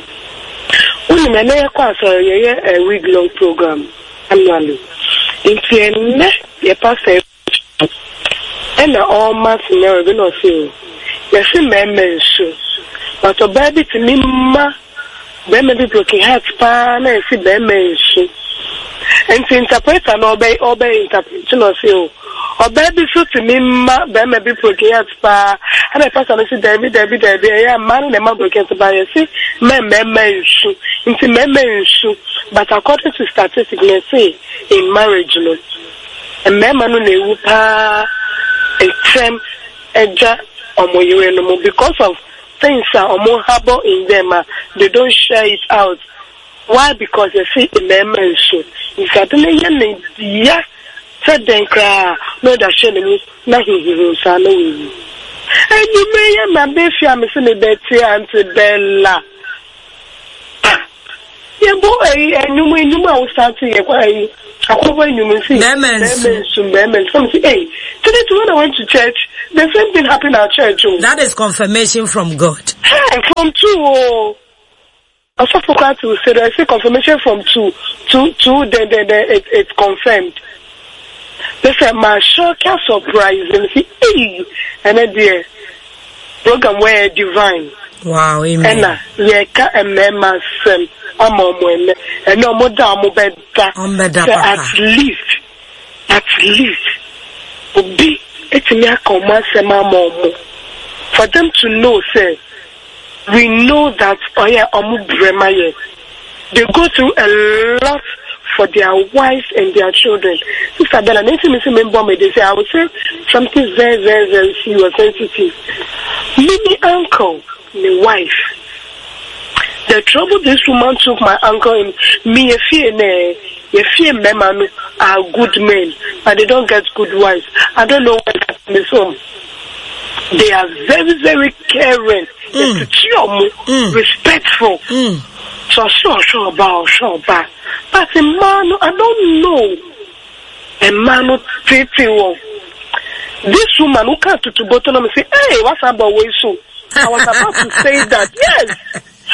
Wonim ɛnɛ yɛkɔ asɔre yɛyɛ a week long program annually. Nti ɛnɛ yɛ pastor ɛna ɔma scenario bi na ɔse o yɛse mmarima nsu but ɔbaa bi tumi ma Bɛrima bi broken heart paa na yɛsi bɛrima nsu. Nti interpreter no ɔbɛ ɔbɛ interpret na ɔsi o ɔbaa bi so tumi ma bɛrima bi broken heart paa ɛna pastor no si daabi daabi daabi ɛyɛ mmaa no na ɛma broken heart paa yɛsi mɛ mmarima nsu nti mmarima nsu but according to statistics na ɛsi in marriage no mmarima no na ewu paa ntɛm ɛgya wɔn yerenom because of things a ɔmo harbour in them a they don't share it out why because yɛse mmarima nsu nti ade no yɛ ne ya sɛ dɛn koraa na ɔde ahyɛ ne mu na huhuhu saa na wawu. Anwummere yɛ maba fie a mese mebɛte Auntie Bella. Ah! Yɛbɔ ɛyi ɛnwom ɛnwom a wo start yɛ kɔ ɛyi akɔbɔ ɛnwom nsi. Bɛrima nsu. Bɛrima nsu bɛrima nsu. Ɛna mese ei today too when I went to church the same thing happened at church o. That is confirmation from God. Hey from two o. Ɔsɔfo koraa te wo se dɛ ɛse confirmation from two to two then then then it it's confirmed. Ne sɛ ma shock a surprise me se ei ɛnɛ deɛ program wei yɛ divine. Wow amen. Ɛna yɛka mmarima asɛm ama ɔmo ɛnɛ ɛnɛ ɔmo da ɔmo bɛda Ɔmo bɛda sɛ papa. at least at least obi etumi aka ɔmo asɛm ama ɔmo for them to know sɛ We know that ɔyɛ ɔmo brɛ ma yɛ they go through a lot for their wives and their children sister Bella na esi mi si mi bɔ mi de sɛ I will say something very very very serious sensitive me me uncle ne wife the trouble this woman took my uncle in me yɛ fie nɛ yɛ fie mmarima no are good men but they don't get good wives I don't know where that is from. They are very very caring. Yɛtete ɔmo respectful. Sɛ ɔsɛ ɔhwɛ ɔba a ɔhwɛ ɔba. But mmaa no I don't know. Mmaa no tete wɔn. This woman wo ka tutu bɔtɔ na me say hey wasan bɔ wei so. I was about to say that yes.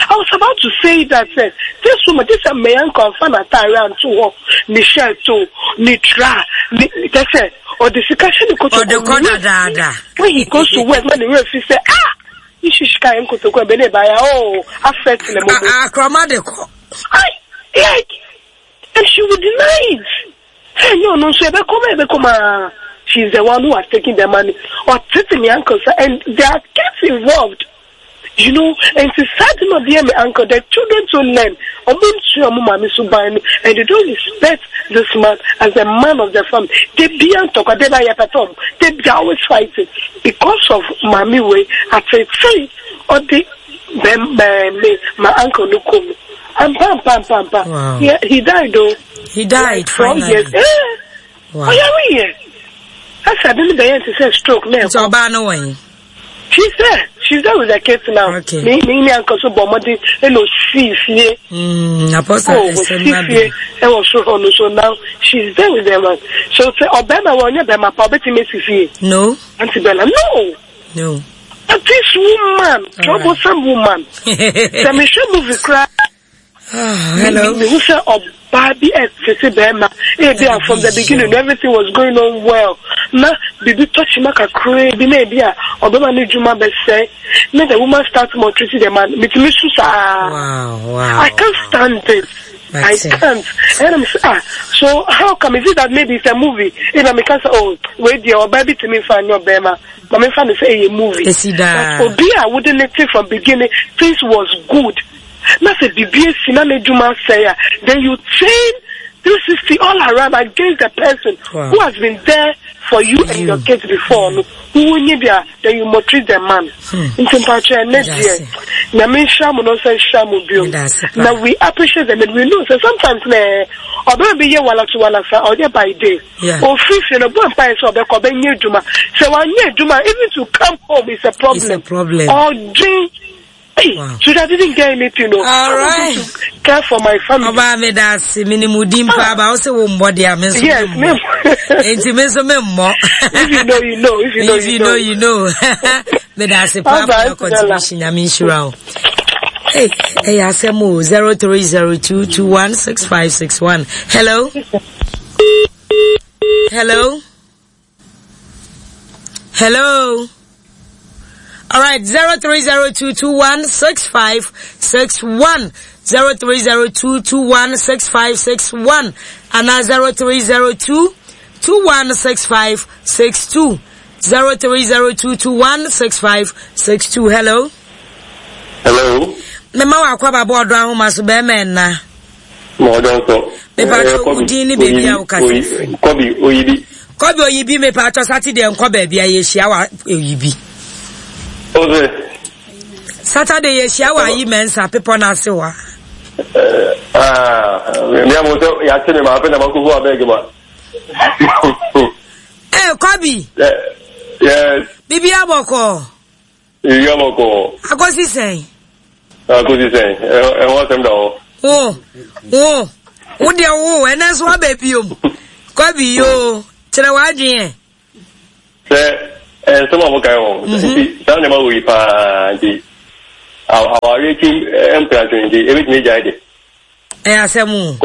I was about to say that sɛ this woman this mmea nka ɔnfa n'ataare anto hɔ ne shirt o ne tra ne kyɛ sɛ ɔde sika hyɛ ne kotoku Ɔde kɔ dadaada. When he goes to work na ne werɛ fi sɛ ah ne sika yɛ nkotoku ɛbɛ ne ba ya oh afɛt ne mo. Akorɔma de kɔ. I like and she would deny it. Sɛ ɛnyɛ ɔno nso ɛbɛkɔ ma ɛbɛkɔ ma she is the one who has taken the money ɔtete me uncle sɛ and there are kids involved. You know, nti saa de na ɔde yɛ me uncle, the children too learn, ɔmo nsua ɔmo maame suban no and they don't respect this man as the man of the family. Da bia ntɔkwa, da bia yɛpɛtɛ ɔmo, da bia always fighting because of maame wei ateetee ɔde bɛm ɛɛ me my uncle no kɔ mu. Ampa ampa ampa ampa. Wow. He, he died though. He died like four finally. years. Eh, Wow. ɔyare yɛ. Ɛsɛ ade no bɛyɛ nte sɛ stroke na Nti ɛkɔ. ɔbaa no wɔ he? She's there. She's there with the kids now. Okay. Me me ni uncle so bɔ mmɔden ɛna osi fie. Apostle Oh, ɛsɛm osi na fie bi. ɛwɔ soro hɔ no so now she's there with them. So sɛ ɔbɛrima wɔ ɔnyɛ bɛrima pa ɔbɛtumi esi fie. No. Auntie Bella, no. No. But this woman, troublesome woman. Sɛ mehwɛ movie koraa. Hello. Mehu sɛ ɔbaa bi ɛtete bɛrima ebi a from the beginning everything was going on well na biribi tɔ kyima kakraa bi na ebi a ɔbɛma ne dwuma bɛsɛe na the woman start maltreating the man metumi su saa. Wow, wow. I can't stand it. I can't. And I'm say, ah, so how come is it that maybe it's a movie? If I'm say, oh, wait, dear, or baby to me find your bema. But me find say a movie. But obi a wouldn't it from beginning, things was good. Na sɛ biribi asi na n'adwuma asɛe a, then you turn 360 all around against the person wow. who has been there for you and your kids before no. Wonye bi a, then you maltreat the man. Nti mpakyɛ ɛnɛ deɛ, Nyame nhyira mo na ɔnsan nhyira mo bio. Na we appreciate them and we know sɛ sometimes na ɔbɛma bi yɛ wala to wala sa ɔyɛ by day. Ofiri fie no bɔ mpaeɛ sɛ ɔbɛkɔ ɔbɛnyɛ adwuma. Sɛ wanyɛ adwuma even to come home is a problem. It's a problem. Ɔdwen Hey, wow. So I didn't get anything. No. All right. To care for my family. Ọba mi da ase mi ni mu di mpa aba o se wo mbọ di a mi nso Yes, mi mbọ. Nti mi nso mi mbọ. If you know, you know. If you know, If you know, you know. Mi da ase paa for your contribution. Nyame nhyira o. Hey, hey, asɛm o 0302216561. Hello. Hello. Hello. All right, 0302216561. 0302216561 and 0302216562. 0302216562. Hello. Hello. Mema wa akwa babo ọdọ ahoma so bẹẹma ẹna. Ma ɔdɔ nso. Mepatɔ wo din ne baabi a wokasa firi. Kɔbi Oyibi. Kɔbi Oyibi mepatɔ Saturday nkɔ baabi a yɛhyia wa Oyibi. Ose. Saturday yɛhyia wɔ ayi mɛnsa pepɔ no ase wa. Mi a mo sɛ yɛate me ma afei na makɔhu abɛɛge ma. Eh, Kɔbi. Yes. Bibi abɔkɔ. Biribi abɔkɔ. Akosi sɛn. Akosi sɛn. Ɛho asɛm da hɔ. Wo, wo, wo deɛ wo, ɛnɛ nso waba biom. Kwabi yoo, kyerɛ w'adwene ɛ. Sɛ nsɛm a mokae wɔ mhm. nti saa nneɛma wɔ yi paa nti awareɛ akyi mprantwe nti ɛbɛtumi agyae de. Ɛyɛ asɛm o.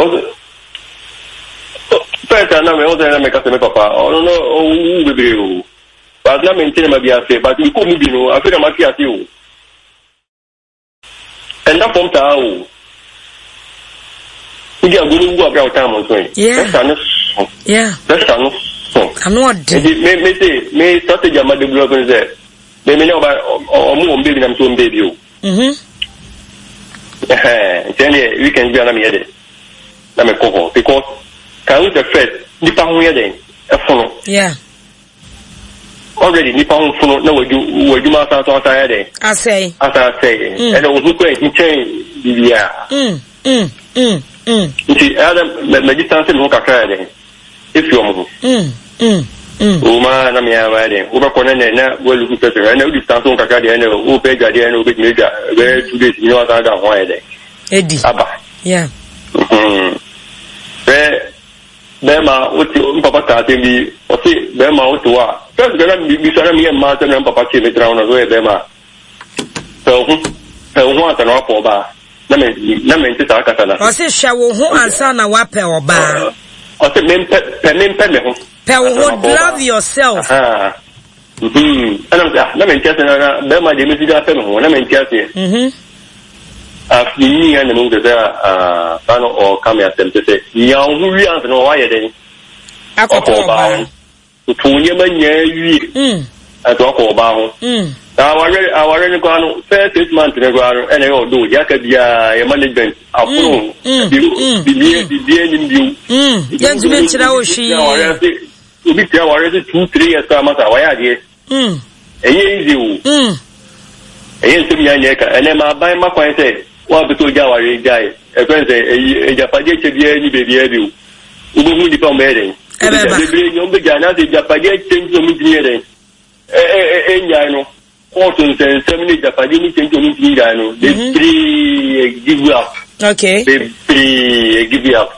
First na me ɔsɛ na meka sɛ me papa ɔno no ɔwu bebree o but na mente nneɛma bi ase but mekɔ mu bi no afei na mate ase o. Ɛnda fam saa o. Wodi agorɔ no wu abira wo time nso yi. Pressure no so. Pressure no so. Ano ɔden. Nti me me se me strategy ama develop no sɛ me me ne ɔba ɔmo wɔn baby na me so wɔn baby o. Mhm. Ɛhɛn nti ɛndeɛ weekend bi a na meyɛ dɛ na mekɔ hɔ because kan wo sɛ first nipa ho yɛ dɛn ɛfono. Yeah. Already nipa ho fono na wadu w'adwuma asan so asan ayɛ dɛn? Asɛe. Asan asɛe. Mm. Ɛna ohun kura nkyɛn biribiara. Mm, mm, mm, mm. Nti ɛyɛ dɛ mɛ distance me ho kakra yɛ dɛn? Efi wɔn ho. Mm, mm, mm. O ma na mea ma yɛ dɛn? Wobɛkɔ na nɛ na waluku pɛsɛ ɛna wo distance ho kakra deɛ ɛna wopɛ adwa deɛ ɛna wobɛtumi adwa bɛyɛ 2 days bi na wasan da ho ayɛ dɛn? Edi. Aba. Yeah. Mm-hmm. Bɛɛ Bɛɛma wote me papa kaa asɛm bi ɔse bɛɛma wote hɔ a first kora na bisa na meyɛ mmaa asɛm na me papa kyee me tena ho na so ɔyɛ bɛɛma a pɛ wo ho pɛ wo ho ansa na wapɛ ɔbaa na me na mente saa kasa na ɔse hwɛ wo ho ansa na wapɛ ɔbaa ɔse mempɛ pɛ mempɛ me ho pɛ wo ho love yourself Ɛna mesɛ ah na mente aseɛ na na bɛrima deɛ mesi de apɛ me ho na mente aseɛ. Mhm. Afei nyi ya na mehu sɛ sɛ ah saa na ɔka me asɛm sɛ sɛ nya wo ho wie ansa na wayɛ dɛn akɔpɛ ɔbaa ho. Toto nneɛma nyinaa wie mm. ansa wakɔ ɔbaa ho. Mm. Na awareɛ awareɛ no koraa no first 6 months no koraa no ɛna ɛyɛ ɔdɔ deɛ aka biara yɛ management afono bibie bibie nim bio. Yɛntumi nkyerɛ wo hwee. Obi tia aware se 2, 3 years koraa masa wayɛ adeɛ. Ɛnyɛ easy o. Ɛnyɛ nsɛm nyinaa na ɛka. Ɛnɛ ma aban ma kwan sɛ wɔn a pɛ sɛ ogya aware gyae. Ɛfɛn sɛ ɛyi agyapadeɛ kyɛ biara ni baabiara bio. Wobɛhu nnipa wɔn bɛyɛ dɛn. Ɛbɛba. Bebree nyɛ wɔn bɛgyae anaasɛ agyapadeɛ kyɛ nti na wɔn ntumi yɛ dɛn. Ɛnyae no. Kɔɔto nsɛnsɛm ne agyapadeɛ mu kyɛ nti wɔn ntumi nyae no. Bebree give up. Okay. Bebree give up.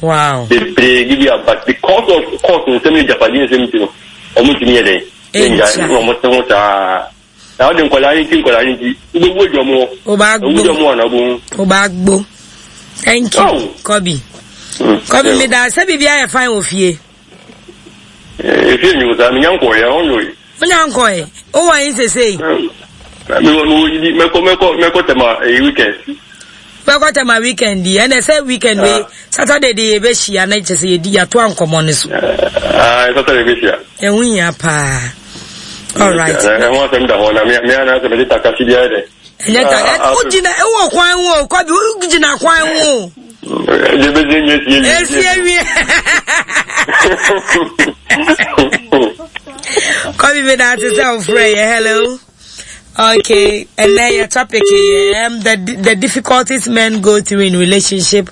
Wow. Bebree give up but because of court nsɛm ne agyapadeɛ nsɛm nti no wɔn ntumi yɛ dɛn. Ɛnyae na wɔn te ho saa. Na wɔde nkwadaa ne nti nkwadaa ne nti wobɛwu adwa mu hɔ. Wobɛagbo. Ewu dwa mu hɔ na wobɛhu. Wobɛagbo. Thank you. Oh. Kobi. Kobi mi da sɛ biribi ayɛ fine wɔ fie. Efie nyo saa menya nkɔɛ ɛhɔ nyo yi. Wonya nkɔɛ wowɔ yi sesei. Mewɔ mewɔ yidi mɛkɔ mɛkɔ mɛkɔ tɛma ɛyi weekend. Bɛkɔ tɛma weekend yi ɛnɛ sɛ weekend wei ah. Saturday de yɛbɛhyia na kyɛ sɛ yɛdi yɛato ankɔmmɔ no so. Ah, Saturday bɛhyia. Ɛho hia paa. All right. Ɛho asɛm da hɔ na mea na asɛ mede takasi biara dɛ. Ɛnyɛ ta wogyina ɛwɔ kwan ho o kwabi wogyina kwan ho. Esi awie. Kwabi mi da ase sɛ ofrɛ yɛ hello. Okay, and then your topic the difficulties men go through in relationship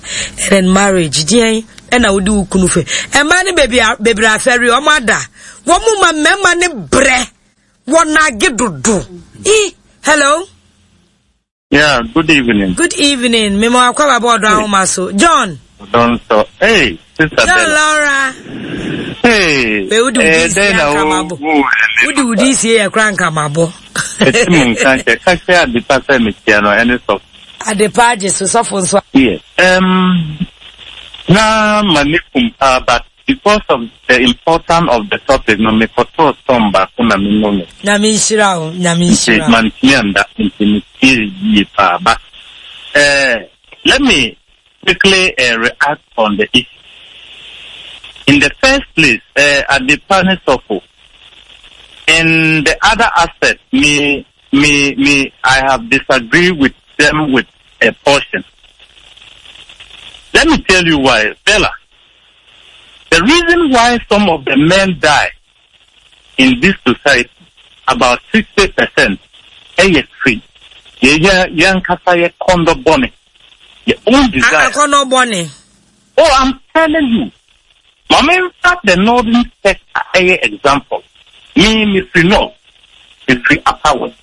and in marriage. Deɛn ɛna wodi wo kunu fɛ. Ɛmaa ne beebi bebree afɛre wɔn ada. Wɔn mu ma mmarima ne brɛ. Wɔn age dodo. I hello. Yeah, good evening. Good evening. Me mo akwa baba odo ahoma so. John. Don so. Hey, sister John Bella. Laura. Hey. We wudi eh, wudi si akamabo. Wudi wudi si ye kra nkamabo. Eti mu nka nkyɛ ka kyerɛ adepa sɛ mekyia no ɛne sɔfo. Adepa agye so sɔfo nso. Yes. Na ma ne kum paa but Because of the important of the topic no me kɔtɔɔ storm baako na me nomee. Nyame nhyira wo, Nyame Nti nhyira wo. mantumi anda nti me tiee yie paa but eh let me quickly eh react on the issue. In the first place eh Adepa ne Sɔfo in the other aspect me me me I have disagree with them with a portion. Let me tell you why Bella The reason why some of the men die in this society, about 60%, ɛyɛ firi yɛyɛ yɛn ankasa yɛ kɔndɔ bɔne, yɛ own desire. Akɔnɔ bɔne. Oh, I'm telling you. Ma me nfa the northern sector ɛyɛ example. Me, me firi north, me firi upper west.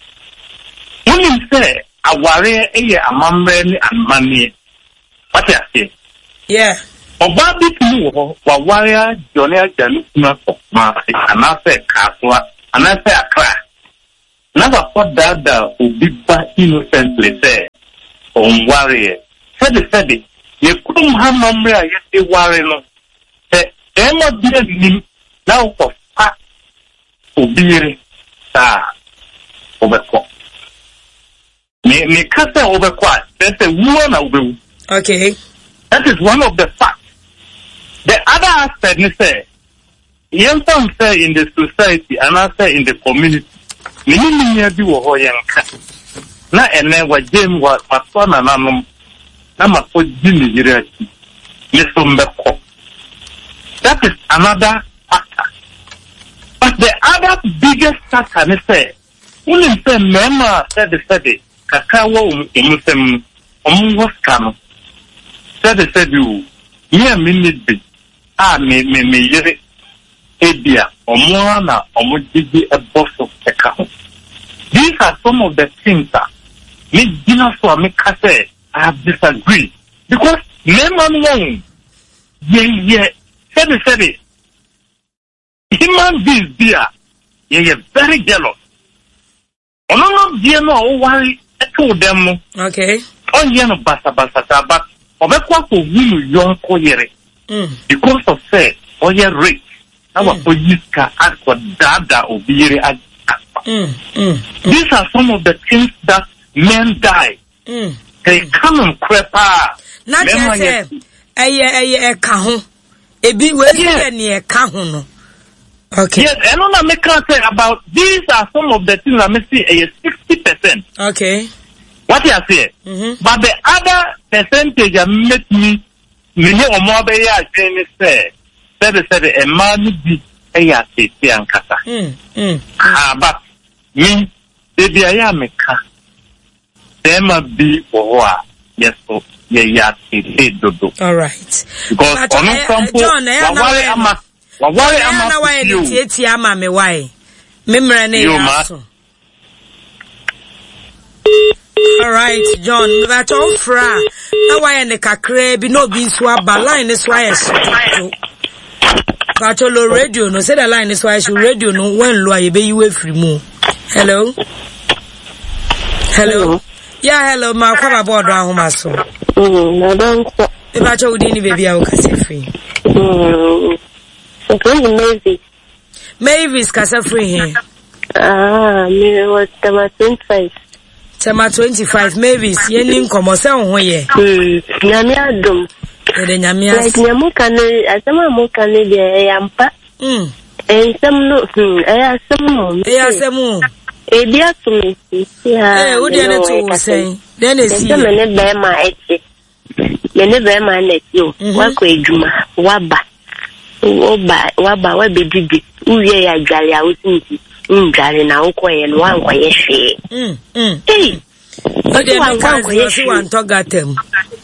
Wonim sɛ awareɛ yɛ amammerɛ ne amanneɛ. Wate aseɛ? Yeah. Ɔbaa bi tumi wɔ hɔ, waware agye ɔne agya ne kunu akɔ Kumasi anaasɛ Kasoa anaasɛ Accra na wakɔ daadaa obi ba innocently sɛ ɔnwareɛ. Sɛbesɛbe, yɛ kurom ha amammerɛ a yɛde ware no, sɛ barima bi annim na wokɔfa obi yere saa a, wobɛkɔ. Me me ka sɛ wobɛkɔ a, kyerɛ sɛ wu ara na wobɛwu. Okay. That is one of the facts. The other aspect ne sɛ, yɛmfa no sɛ in the society anaasɛ in the community, me ne me nua bi wɔ hɔ yɛnka, na ɛnɛ wagyam, wa masoa nananom na makɔgye ne yere akyi, me so mbɛkɔ. That is another factor. But the other biggest factor ne sɛ, Wonim sɛ mmarima a sɛbesɛbe kakra wɔ wɔn nsam no, wɔwɔ sika no. Sɛbesɛbe o, me a minni bi a me me me yere ebia wɔn ara na wɔgyegye bɔ so ka ho. These are some of the things a megyina so a meka sɛ I have disagreed because mmarima no wɔn yɛyɛ sɛbesɛbe. Human beings bi a yɛyɛ very jealous. Ɔno no deɛ no a ɔware too dɛm no. Okay. Ɔnyɛ no basabasa saa but ɔbɛkɔ akɔhu no yɔnko yere. Mm. Because of sɛ ɔyɛ rich na mm. wakɔ yi sika akɔ daadaa obi yere afa. Mm. Mm. These are some of the things that men die. Mm. Sɛ ɛka no nokorɛ paa. Na kyerɛ sɛ ɛyɛ ɛyɛ ɛka ho. Ebi wei yɛ nea ɛka ho no. Okay. Yes, ɛno na meka sɛ about these are some of the things na me se ɛyɛ 60%. Okay. Wate aseɛ? Mm-hmm. But the other percentage a mɛtumi me ne wɔn abɛyɛ adwene ne sɛ sɛbesɛbe mmaa no bi yɛ ateetee ankasa. Mm. Ah, but me, baabi a ɛyɛ a meka Bɛɛma bi wɔ hɔ a yɛ so yɛ yɛ ateetee dodo. Alright. Because ɔno nsa mpo waware ama waware ama na wayɛ ne tietie ama me wae. Me mmerɛ ne yɛ aso. Alright, John, mebatɔ wo fra na wayɛ ne kakraa bi na obi nso aba line ne so ayɛ hye dodo. Batɔ lo radio no sɛdeɛ line ne so ayɛ hye radio no wɔn lo a yɛbɛyi wo afiri mu. Hello. Hello. Yeah, hello. Ma kwa ba bodo ahoma so. Madam. Me ba cho wudi ni baby a wo kasa free. Okay, Mavis. Mavis kasa free he. Ah, me was Tema 25. Tema 25 Mavis, ye ni nkomo se wo ho ye. Nyame adom. Ye de nyame ase. Like nyame ka ne asem a mo ka ne de e yampa. Nsɛm no, hmm, ɛyɛ asɛm o. Ɛyɛ asɛm o. Ebi ato me sisi a. Ee, wo deɛ ne to wo sɛn? Dɛn na esi yɛ? Me ne bɛrima ɛte. Me ne bɛrima na ɛte o. Mhm. Wakɔ adwuma, waba. Woba, waba, wabɛdidi. Wowie yɛ adware a wosi nti, ndware na wokɔyɛ no, wankɔyɛ hwee. Ei! Ɔde meka nsi ɔsi wantɔ gata mu.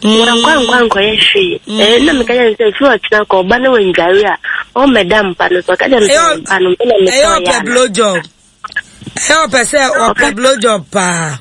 Wankɔ ankɔ ankɔyɛ hwee. Ɛɛ na meka kyerɛ no sɛ firi ɔkyena kɔ ɔba na wandware a ɔmmɛda mpa no so. Ɔka kyerɛ me sɛ mpa no me na metɔ yɛ ana. Ɛyɛ ɔpɛ blow job. Ɛyɛ ɔpɛ sɛ ɔpɛ blow job paa.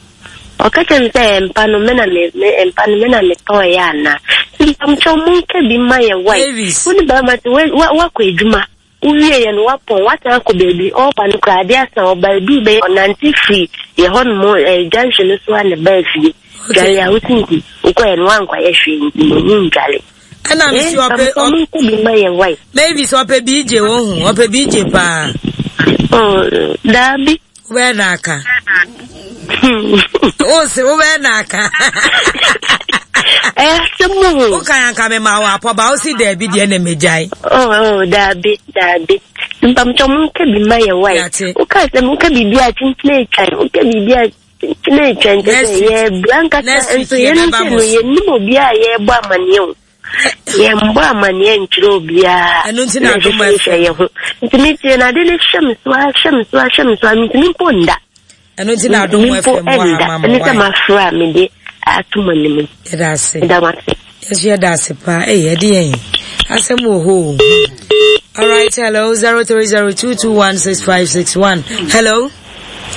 Ɔka kyerɛ me sɛ mpa no me na me mpa no me na metɔ yɛ ana. Mpamkyɛw monka bi ma yɛ wae. Wo ne bɛrima te wakɔ adwuma. Wowieeɛ no, woapɔn, woasan akɔ baabi, ɔreba no koraa adeɛ asa, ɔba aduru bɛyɛ, ɔnante firi yɛ hɔ nom eh, junction no so a na baa fie. Dware a wosi nti, wokɔɛ no woankɔyɛ hwee nti na ɔmu ndware. Ɛna me si ɔpɛ ɔpɛ nko bi ma yɛ wae. Maybe sɛ ɔpɛ BJ wohu, ɔpɛ BJ paa. Oh, daabi. Wobɛyɛ na aka. Wo se wobɛyɛ na aka. Ɛyɛ asɛm o. Woka yɛ anka mema wo apɔba wo se daabi deɛ na megyae. Oh, oh, daabi, daabi. Mpamkyɛ mo nka bi ma yɛ wae. Woka sɛ mo nka biribi a kyenkyene atwan, woka biribi a kyenkyene atwan kyɛ sɛ yɛbra nkasa nso yɛn nso no yɛnim obi a yɛrebɔ amaneɛ o. Yɛmbɔ amaneɛ nkyerɛ obiara. Ɛno nti na adom ɛhwɛ yɛ ho. Nti metie na ade no hyɛ me so ara hyɛ me so ara hyɛ me so ara mentumi mpo nda. Ɛno nti na adom FM wɔ ama mo ɛne sɛ mafrɛ a mede ato mo anim. Yɛda ase. Yɛda mo ase. Yɛso yɛda ase paa. Ɛyɛ ɛde yɛn asɛm wɔ hɔ o. All right, hello, 0302216561. Hello.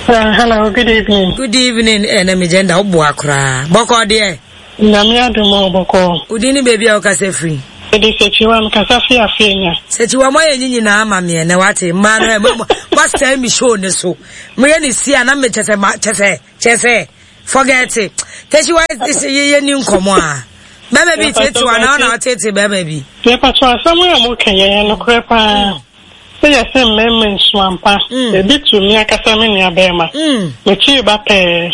Hello, good evening. Good evening. Eh, na me gender wo boa koraa. Bɔkɔ deɛ. Nyame adom o, bɔkɔɔ. Wo din ne baabi a wokasa firi? Mede Sekyiwa, mekasa fi Afenya. Sekyiwa, moayɛ ne nyinaa ama me ɛnɛ wate, mmaa no ɛ, moasɛe me show ne so. Moyɛ ne si a na me kyɛ sɛ, kyɛ sɛ, kyɛ sɛ, forget it. Sekyiwa, yɛ ni nkɔmɔ a. Bɛrima bi tete wa na ɔna ɔtete bɛrima bi. Yɛpatɔ asɛm a moka yɛ yɛ nokorɛ paa. Sɛ yɛse mmarima nsu ampa, ebi to me ankasa me nua bɛrima. Mekyiri ba pɛɛ.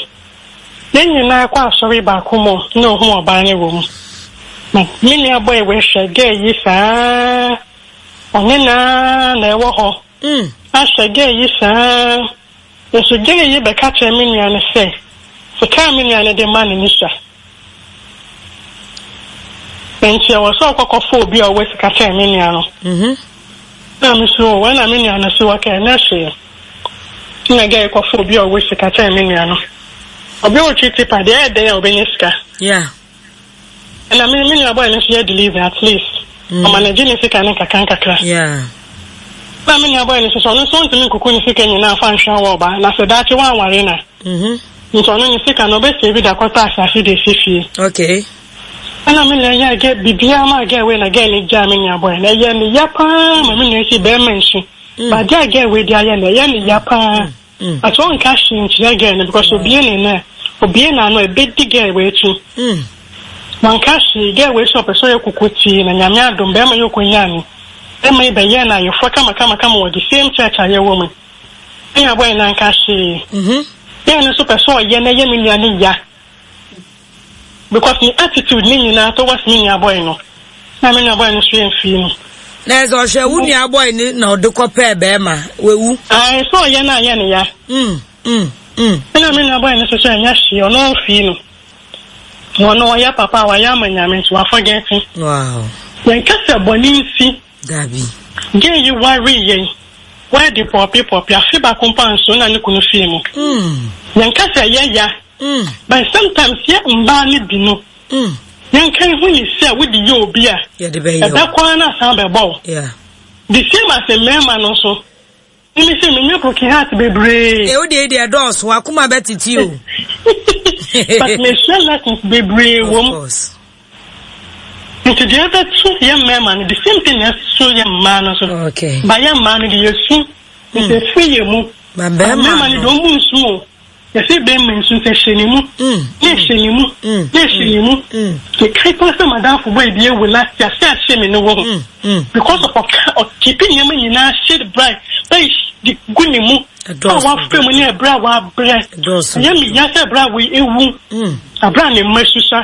Yɛn nyinaa kɔ asɔre baako mu na ohun ɔbaa no wɔ mu. Na me nua boy wei hwɛ girl yi saa ɔne no ara na ɛwɔ hɔ. Ahwɛ girl yi saa nso girl yi bɛka kyerɛ me nua no sɛ sika a me nua no de ma no no sua. Nti ɛwɔ sɛ ɔkɔ kɔfa obi a ɔwɔ sika kyɛn me nua no. Na me so o, ɛna me nua no so ɔka ɛnyɛ hwee. Ɛna gɛɛ kɔfa obi a ɔwɔ sika kyɛn me nua no. Obi a ɔtwi tipa deɛ ɛyɛ dɛn a ɔbɛnya sika. Yeah. Ɛna me me nua boy no nso yɛ delivery at least. Ɔma no gye ne sika no nkakra nkakra. Yeah. Na me nua boy no nso so ɔno nso ɔntumi nkuku ne sika nyinaa fa nhwɛ wɔ ɔba na sɛ daakye wanware na. Nti ɔno ne sika no ɔbɛ save de akɔtɔ asase de asi fie. Okay. Ɛna me nua yɛɛ gɛ biribiara maa gɛɛ wei na gɛɛ no gyaa me nua boy no. Ɛyɛɛ me ya paa ma me nua si bɛɛma nsu. But adeɛ a gɛɛ wei de ayɛ no ɛyɛ ne ya paa. But ɔnka hwee nkyerɛ gɛɛ no because obie ne no a obie n'ano a ɛbɛdi gɛɛ wei akyi. Wanka hwee gɛɛ wei sɛ ɔpɛ sɛ ɔyɛ kokotii na Nyame adom bɛɛma yi ɔkɔnyaa no. Bɛɛma yi bɛyɛɛ no ayeforɔ kama kama kama wɔ the same church a yɛwɔ mu. Me nua boy no anka hwee. Girl no nso pɛ sɛ ɔyɛ na ɛyɛ me nua no ya because ne attitude ne nyinaa towards me nua boy no na me nua boy no nso ɛmfii no. Na ɛsɛ ɔhwɛ wo nua boy no na ɔde kɔ pɛɛ bɛrima wawu. Ae sɛ ɔyɛ no ayɛ no ya. Ɛna me nua boy no nso sɛ ɛnyɛ hwee ɔno ɔmfii no. Ɔno ɔyɛ papa a wayɛ ama Nyame nti wa forget. Wow. Yɛnka sɛ bɔne nsi. Dabi. Gay yi waree yɛn wɛɛde pɔɔpe pɔɔpe afe baako mpo anso na ne kunu fii mu. Yɛnka sɛ ɛyɛ ya but sometimes yɛ mmaa no bi no yɛnka nhu ne sɛ wode yɛ obi a ɛbɛkɔ ara na asan abɛbɔ wo. The same as mmarima no nso. Mimi sɛ menya broken heart bebree. Ewo deɛ deɛ ɛdɔɔso wakoma bɛtete o. But mesua lessons bebree wɔ mu. Nti deɛ ɛbɛto yɛ mmarima no the same thing na ɛso yɛ mmaa no so. Okay. Ba yɛ mmaa no de yɛsu. Nti ɛfiri yɛ mu. Ba mmarima no deɛ ɔmu nsu o. Yɛse bɛmma nsu sɛ hyɛ ne mu, na ɛhyɛ ne mu, na ɛhyɛ ne mu. Mekae paa sɛ madamfo boy bi awu last year, sɛ ahyɛ me no wɔ ho. Because of ɔka, ɔkeepi nneɛma nyinaa hyɛ bra, bɛyi de gu ne mu. A wafrɛ mu ne ɛberɛ a wabrɛ. Ɛyɛ me ya sɛ ɛberɛ a wei ewu, aberɛ a ne mma susua.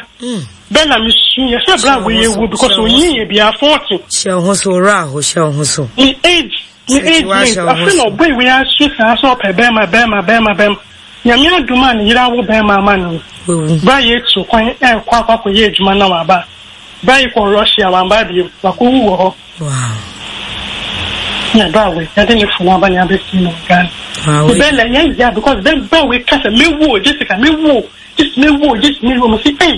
Bɛ na me su yɛ sɛ ɛberɛ a wei ewu because onyin yɛ biara 40. Hyɛ wo ho so, owura aho, hyɛ wo ho so. Ne age. Ne age mate afei na ɔbɔ ewe asu saa sɛ ɔpɛ bɛɛma bɛɛma bɛɛma bɛɛma Nyame adom a ne yere awo bɛɛma ama no yi bra yi etu kwan ɛɛkɔ akɔ akɔ yɛ adwuma na waba bra yi kɔ Russia wamba bio wakɔ wu wɔ hɔ na bra wei yɛde ne funu aba ne abɛsi no wɔ Ghana bɛɛla yɛ ya because bɛ bra wei kasa mewu o Jessica mewu o Jessica mewu o Jessica mewu o mesi ei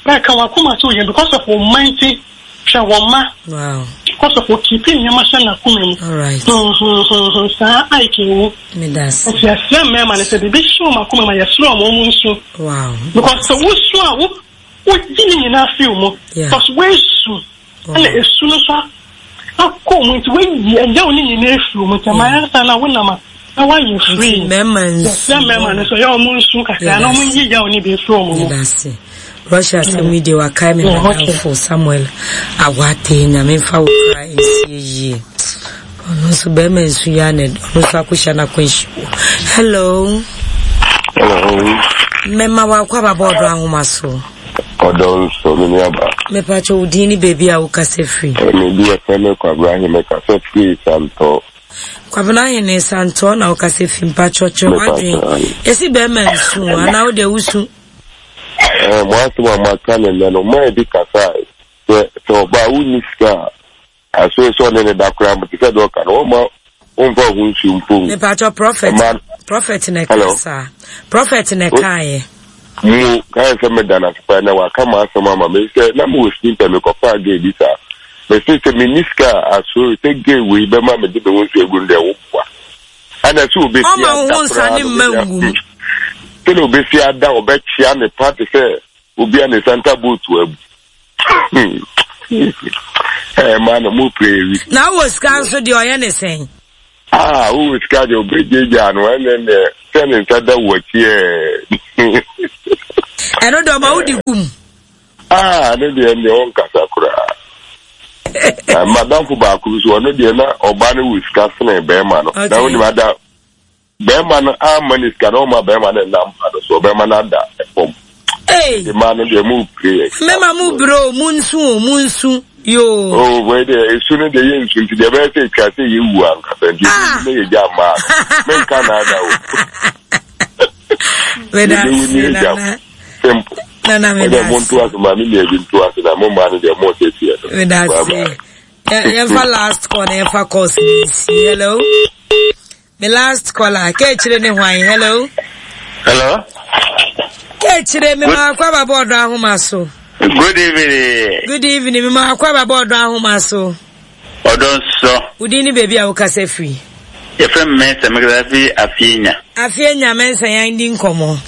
bra ka wakoma so yɛ because of wo mma nti. Hwɛ wɔn mma. Kɔ so kɔ keep nneɛma hyɛ n'akoma mu. Huhuhuhu saa Ike ewu. Nti yɛsrɛ mmarima no sɛ biribi hyɛ wɔn akoma mu a yɛsrɛ wɔn wɔn nsu. Because sɛ wosu a wo wogye ne nyinaa fi wo mu. Because woasu ɛna esu no so akɔ mu nti woayi ɛyaw ne nyinaa afiri wo mu nti ɛma yɛn na wonam a na woayɛ free. Yɛsrɛ mmarima no sɛ ɔyɛ wɔn nsu kakra na wɔn yi yaw ne bi mfiri wɔn mu. Russia asɛm yi deɛ wakae me madamfo Samuel Awate nyame mfa wo kra nsie yie ɔno nso bɛrima nsu yi ana ɔno nso akɔhyia no akwanhyia hello hello mɛma wakɔ ababɔ ɔdɔ ahoma so ɔdɔ nso me nuaba mepakyɛ wo din ne baabi a wokasa firi medi yɛfrɛ me Kwabena Ahene kasa firi Santɔ Kwabena Ahene Santɔ na wokasa firi mpakyɛ kyerɛ w'adwene ɛsi bɛrima nsu anaa wode wusu Ɛɛ, mo asɛm a moaka no nnɛ no, mo a bi kasae sɛ, sɛ ɔbaa wonni sika a, asoe sɛ ɔne ne da koraa mpo, te sɛ deɛ ɔka no, wɔmma womfa wo ho nsuo mpo ngu. Mepakyɛ prophet, Ɛma, prophet na ɛka hello? saa. Prophet na ɛkaeɛ. Mo, kae sɛ meda no ase paa na waka m'asɛm ama me sɛ na mewɔ sini pɛ mekɔfaa gay bi saa. Mese sɛ menni sika a, asoe sɛ gay wei bɛma mede me ho nsuo agu no deɛ woboa. Ɛna sɛ obesi Ɔma wo ada ho nsa koraa ne no mma obesi ngu mu. sɛnea obesi ada ɔbɛkyea ne pa te sɛ. obi a ne santa boat abu. Ɛɛ maa na mo pere wi. Na wɔ sika nso deɛ ɔyɛ ne sɛn? Ah, wowɔ sika deɛ ɔbɛgyagyaa no ɛnɛ deɛ sɛ ne nsa da wo akyi ɛɛ. Ɛno deɛ ɔma wodi gum. Ah, ne deɛ deɛ ɔnkasa koraa. Na madamfo baako bi so ɔno deɛ na ɔbaa no wɔ sika sene bɛrima no. Na wonim ada bɛrima no amma ne sika na ɔma bɛrima no nna mpa no so ɔbɛrima no ada fam. Hey. Mmaa no deɛ mo pere yɛ. Mmarima mo brɛ o, mo nsu o, mo nsu yoo. Oh, wei deɛ esu no deɛ yɛ nsu nti deɛ ɛbɛyɛ sɛ etwa sɛ yɛ wu ankasa nti ah. ne yɛ gya mmaa no menka na ada o. Meda ase nana. Simple. Nana meda ase. Mo nto ase maame nua bi nto ase na mo mmaa no deɛ mo sɛ tiɛ no. Meda ase. Yɛmfa last call na yɛmfa calls ni nsi. Hello. Me last caller, kekyire ne hwan? Hello. Hello. Kekyire me ma akɔ aba bɔɔdo ahoma so. Good evening. Good evening. Me ma akɔ aba bɔɔdo ahoma so. Ɔdɔ nsɔ. Wodin ne baabi a wokasa firi. Yɛfrɛ me Mensah, mekasa fi Afienya. Afienya Mensah yɛn di nkɔmmɔ.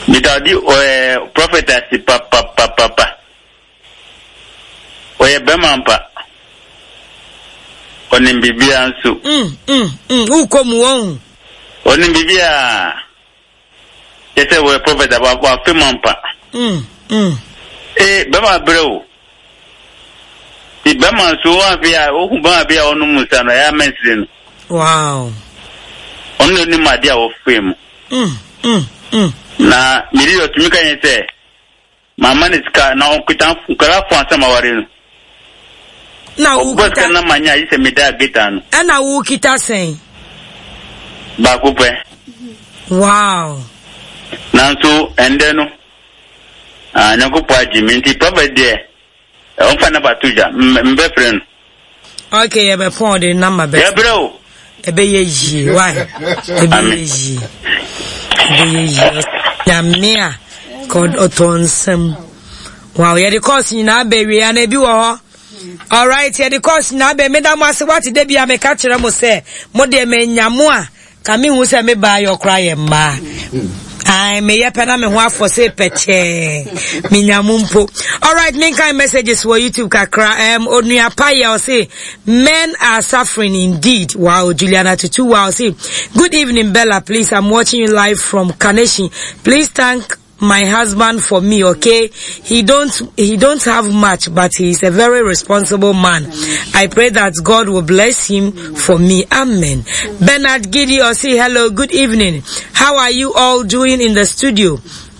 Meda ɔdi ɛɛ prophet ase papapapapa. Ɔyɛ bɛrima ampa. Ɔnim biribiara nso. Mm, mm, mm, wokɔ mu wɔn. Ɔnim biribiara. Kyɛ sɛ wɔyɛ prɔfɛt a wafe mu ampa. Mm, mm. Ee, bɛrima brɛ o. Ti bɛrima nso wɔn a ohu bɛrima bi a ɔnom nsa no ɛyɛ amɛnsere no. Wow. Ɔno na onim adeɛ a wɔfe mu. Mm, mm, mm. Na mede ɔtumi ka yɛn sɛ Mamma no sika na ɔnkuta nkwadaa fo ansa maware no. Na Ɔbɔ wokita. sika na manya ayi sɛ medaa gate ano. Ɛna wokita sɛn? Baako pɛ. Wow. Nanso ɛndɛ no, ah, Nyankopɔn agye me nti prophet deɛ Ɔmfa number to dwa, mbɛfrɛ no. Okay, yɛbɛpɔn ɔde number bɛ. Yɛbrɛ o. Ɛbɛyɛ yie, why? Ɛbɛyɛ yie. Ɛbɛyɛ yie. Nyame a, ka ɔtɔ nsam. Wow, yɛde course nyinaa bɛ wie ana ebi wɔ hɔ. Alright, yɛde course nyinaa bɛ meda mo ase wate da bi a meka kyerɛ mo sɛ mo deɛ manya mo a Ka me hu sɛ me baa yɔ kora yɛ mmaa. Ae, meyɛ pɛ na me ho afɔ se pɛkyɛɛ. Menya mu mpo. Alright, menkan messages wɔ YouTube kakra. Um, Onua pa yɛ ɔse, men are suffering indeed. Wow, Juliana Tutu, wow, say, good evening, Bella, please, I'm watching you live from Kaneshi. Please thank my husband for me okay he don't he don't have much but he is a very responsible man i pray that god will bless him for me amen bernard giddy say hello good evening how are you all doing in the studio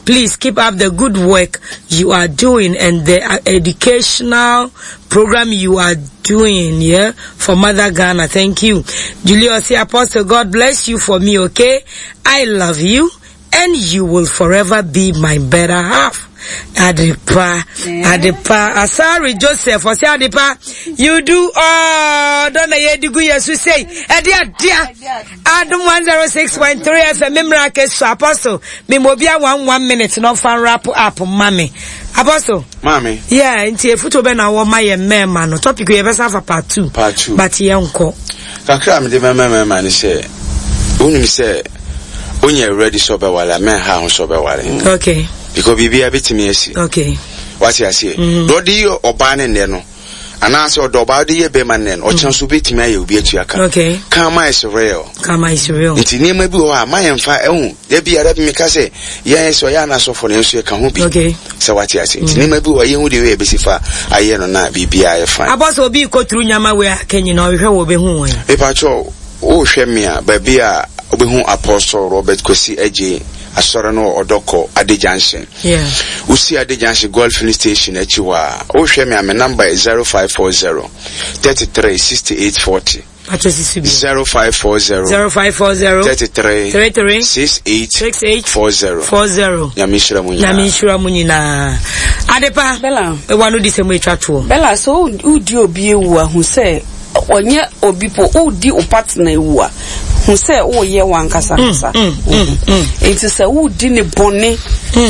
please keep up the good work you are doing and the uh, educational program you are doing yeah for mother ghana thank you julius apostle god bless you for me okay i love you and you will forever be my better half. Adepa, Adepa, Asari Joseph, ɔsɛ Adepa, you do all, don't na yɛ digu yɛ so sei, ɛde adeɛ, Adum 106.3 FM, memra ke so, Apostle, memobia one one minute, no fan wrap up, mami. Apostle. Maame. Yeah, nti efutuo bɛ na wɔ ma yɛ mmarima no, topic yɛ bɛsa afa part 2. Part 2. But yɛn nkɔ. Kakra a mede bɛma mmarima ne sɛ, wonim sɛ wonyɛ ready sɛ ɔbɛware a, mɛnha ho sɛ ɔbɛware. Okay. Because biribiara bɛtumi asi. Okay. Wate aseɛ? Mm. Deɛ ɔde yɛ ɔbaa ne nnɛ no, anaasɛ ɔdɔ ɔbaa ɔde yɛ bɛrima nnɛ no, ɔkyena so bɛtumi ayɛ obi atua ka. Okay. Karma is real. Karma is real. Nti nneɛma bi wɔ hɔ a, ma yɛmfa ɛho. Da bi ara bi meka sɛ, yɛn sɛ ɔyɛ anasɔfo no, yɛn nso yɛka ho bi. Okay. Sɛ wate ase. Nti nneɛma bi wɔ hɔ a, yɛnhu deɛ wei yɛbɛsi fa ayɛ no na biribiara ayɛ fine. Abɔ sɛ obi rekɔ turu nyama wei a kɛ nyina ɔhwehwɛ wɔ ɔbɛhu wɔn. Mepakyɛw, wohwɛ me a, baabi a wobɛhu Apostle Robert Kwesi Adjei Asɔre no wɔ Ɔdɔkɔ, Ade Junction. Yeah. Wosi Ade Junction Goil Filling Station akyi hɔ a, wohwɛ me a, me number yɛ 0540 33 68 40. Pacho sisi bi. 0540. 0540. 33. 33. 68. 68. 40. 40. Nyame nhyira mu nyinaa. Nyame nhyira mu nyinaa. Adepa. Bella. Ewa no di sɛ mo etwa toɔ. Bella sɛ wodi obi ewu a hu sɛ ɔnyɛ obi po wodi wo partner ewu a. Hu sɛ woreyɛ w'ankasa ankasa wo ho. Enti sɛ woredi ne bɔne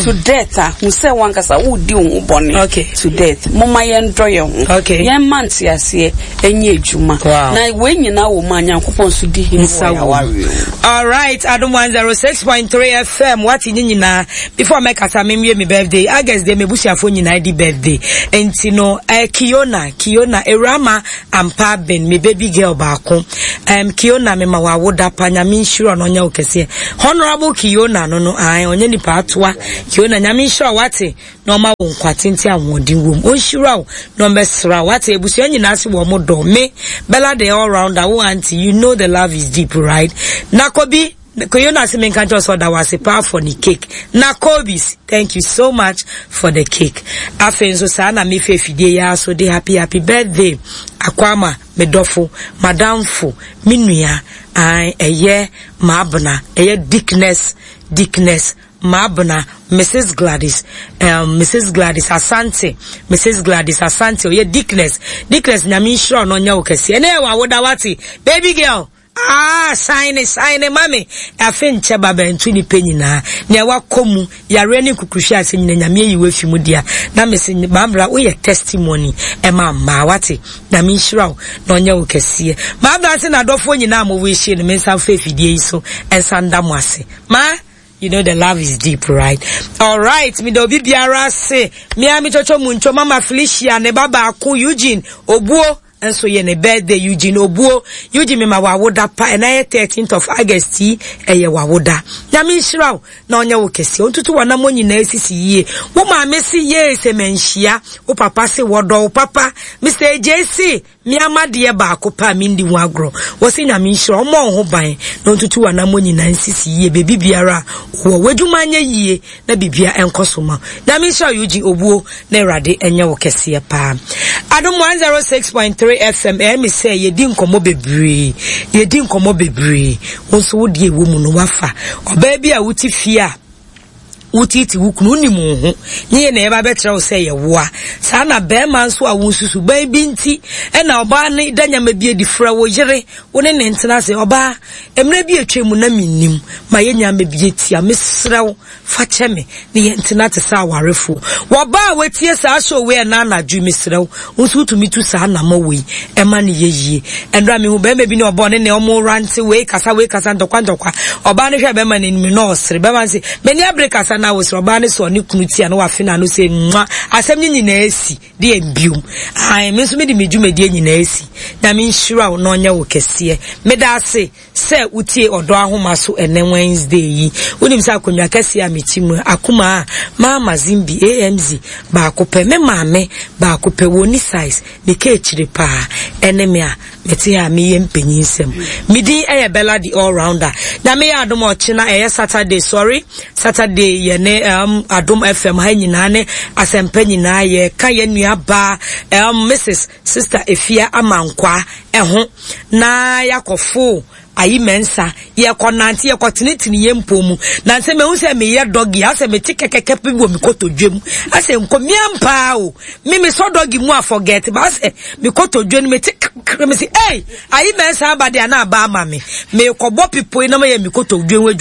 to death a, hu sɛ w'ankasa woredi wo ho bɔne to death. Momma yɛndɔ yɛn ho. Yɛmma nteaseɛ nyɛ adwuma. Na wei nyinaa wɔ mu a, Nyankopɔn nso di hene wɔ yɛn awareɛ mu. Alright, Adom 106.3 FM, wate ne nyinaa. Before mɛkasa, menwie me birthday. August deɛ m'abusuafoɔ nyinaa di birthday. Enti no, eh, Kiona, Kiona, Awurama, Ampa Ben me baby girl baako um, Kiona me ma wawoda pa nyame nhyira no ɔnyɛ wo kɛseɛ Honorable Kiona no no ae ɔnyɛ nipa atoa Kiona nyame nhyira wate na ɔma wo nkwa tenten ahoɔden wom ɔnhyira wo na ɔmbɛsra wate abusua nyinaa se wɔ mo dɔ me Bella the all rounder wo auntie you know the love is deep right na kobi Koyona se menka nkyerɛ sɛ ɔda wo ase paa for ne cake. Na Kobe's, thank you so much for the cake. Afei nso saa na mefa afidie yi ara so de happy happy birthday akɔ ama me dɔfo, madamfo, me nua, ae, ɛyɛ Maabena, ɛyɛ Dickness, Dickness Maabena, Mrs. Gladys, um, Mrs. Gladys Asante, Mrs. Gladys Asante, ɔyɛ Dickness, Dickness nyame nhyira ɔno ɔnyɛ wo kɛseɛ. Ɛnɛ yɛ wɔ awoda wate, baby girl. Ah shine shine ma me afe nkyɛ ba bɛnto nipa nyinaa nea wakɔ mu yareɛ ne nkukuhwɛ ase nyina nyame ayi wafi mu dea na mese maabra woyɛ testimony ɛma mmaa wate nyame nhyira wo na ɔnyɛ wo kɛseɛ maabra se n'adɔfoɔ nyinaa mo wish no me nsa mfa afidie yi so ɛnsa nda mo ase ma You know the love is deep, right? All right, me da obi biara ase. Me a me chocho muncho mama Felicia ne ba baako Eugene Obuo nso yɛ ne birthday Eugene Obuo Eugene mema wawoda pa ɛna yɛ 13th of August yi ɛyɛ wawoda nyame nhyira wo na ɔnyɛ wo kɛseɛ ɔntutu w'anammɔ nyinaa sisi yie wo maame se yee sɛ manhyia wo papa se wɔdɔ wo papa Mr. AJ se me amadeɛ baako pa a mendi ho agorɔ wɔ se nyame nhyira ɔmmɔ wo ho ban na ɔntutu w'anammɔ nyinaa nsisi yie baabi biara wɔ w'adwuma nyɛ yie na biribia ɛnkɔ so ma nyame nhyira Eugene Obuo na Awurade nyɛ wo kɛseɛ paa. Adom 106.3 FM ɛyɛ me sɛ yɛdi nkɔmmɔ bebree, yɛdi nkɔmmɔ bebree. Wo nso wo deɛ ɛwɔ mu no wafa. Ɔbaa bi a wote fie a wotiiti wo kunu wonim wo ho nye yɛ na yɛba bɛkyerɛ wo sɛ yɛwoa saa na bɛrima nso a wo nsusu ban bi nti ɛna ɔbaa no da nyama bi adi frɛ wo yere wo ne ne ntena ase ɔbaa mmerɛ bi atwa mu na mennim ma yɛ nyama bi atia mesrɛ wo Fa kyɛ me ne yɛn ntena te sɛ awarefoɔ. Wɔ baa a watie saa show wei ɛna anadwo yi, mesrɛ wo, wo nso wotumi tu saa anamɔ wei ɛma no yɛ yie. Ɛnora mehu bɛrima bi ne ɔbɔɔ ne ne ɔmo rante wei kasa wei kasa ntɔkwa ntɔkwa. Ɔbaa no hwɛ bɛrima no anim na ɔsere. Bɛrima no se, m'ani abere kasa na wosere. Ɔbaa no sɔɔ ne kunu ti a na wafe n'ano sɛ nwa. Asɛm no nyinaa asi. Deɛ biom. Ae, me nso mede me dwumadie nyinaa asi. Nyame nhyira wo na ɔnyɛ wo kɛseɛ. Meda ase. Sɛ wotie Ɔdɔ Ahoma so ɛnnɛ Wednesday yi, wonim sɛ akonnwa kɛseɛ a mete mu, akumaa a Mama Zimbi, AMZ, baako pɛ, me maame baako pɛ, wɔnni size, ne kaakyire paa, ɛne me a mete ha a meyɛ mpanyinsɛm. Me din yɛ Bella the All Rounder. Nyame yɛ adom a ɔkyena ɛyɛ Saturday, sorry, Saturday yɛne um, Adom FM ha nyinaa ne Asɛmpa nyinaa yɛka yɛn nua baa um, Mrs. Sister Efia Amankwaa ɛho na yɛakɔfo ayi mɛnsa yɛkɔ nante yɛkɔ tenetene yɛn mpɔ mu na sɛ mehu sɛ meyɛ dɔgi asɛ mete kɛkɛkɛ bi wɔ me kotodwe mu asɛ nkɔmia mpaa o me mesɔ dɔgi mu a forget ba asɛ me kotodwe no mete kɛkɛ me se ei ayi mɛnsa aba de ana aba ama me mekɔbɔ pipoe na mayɛ me kotodwe ho adwuma.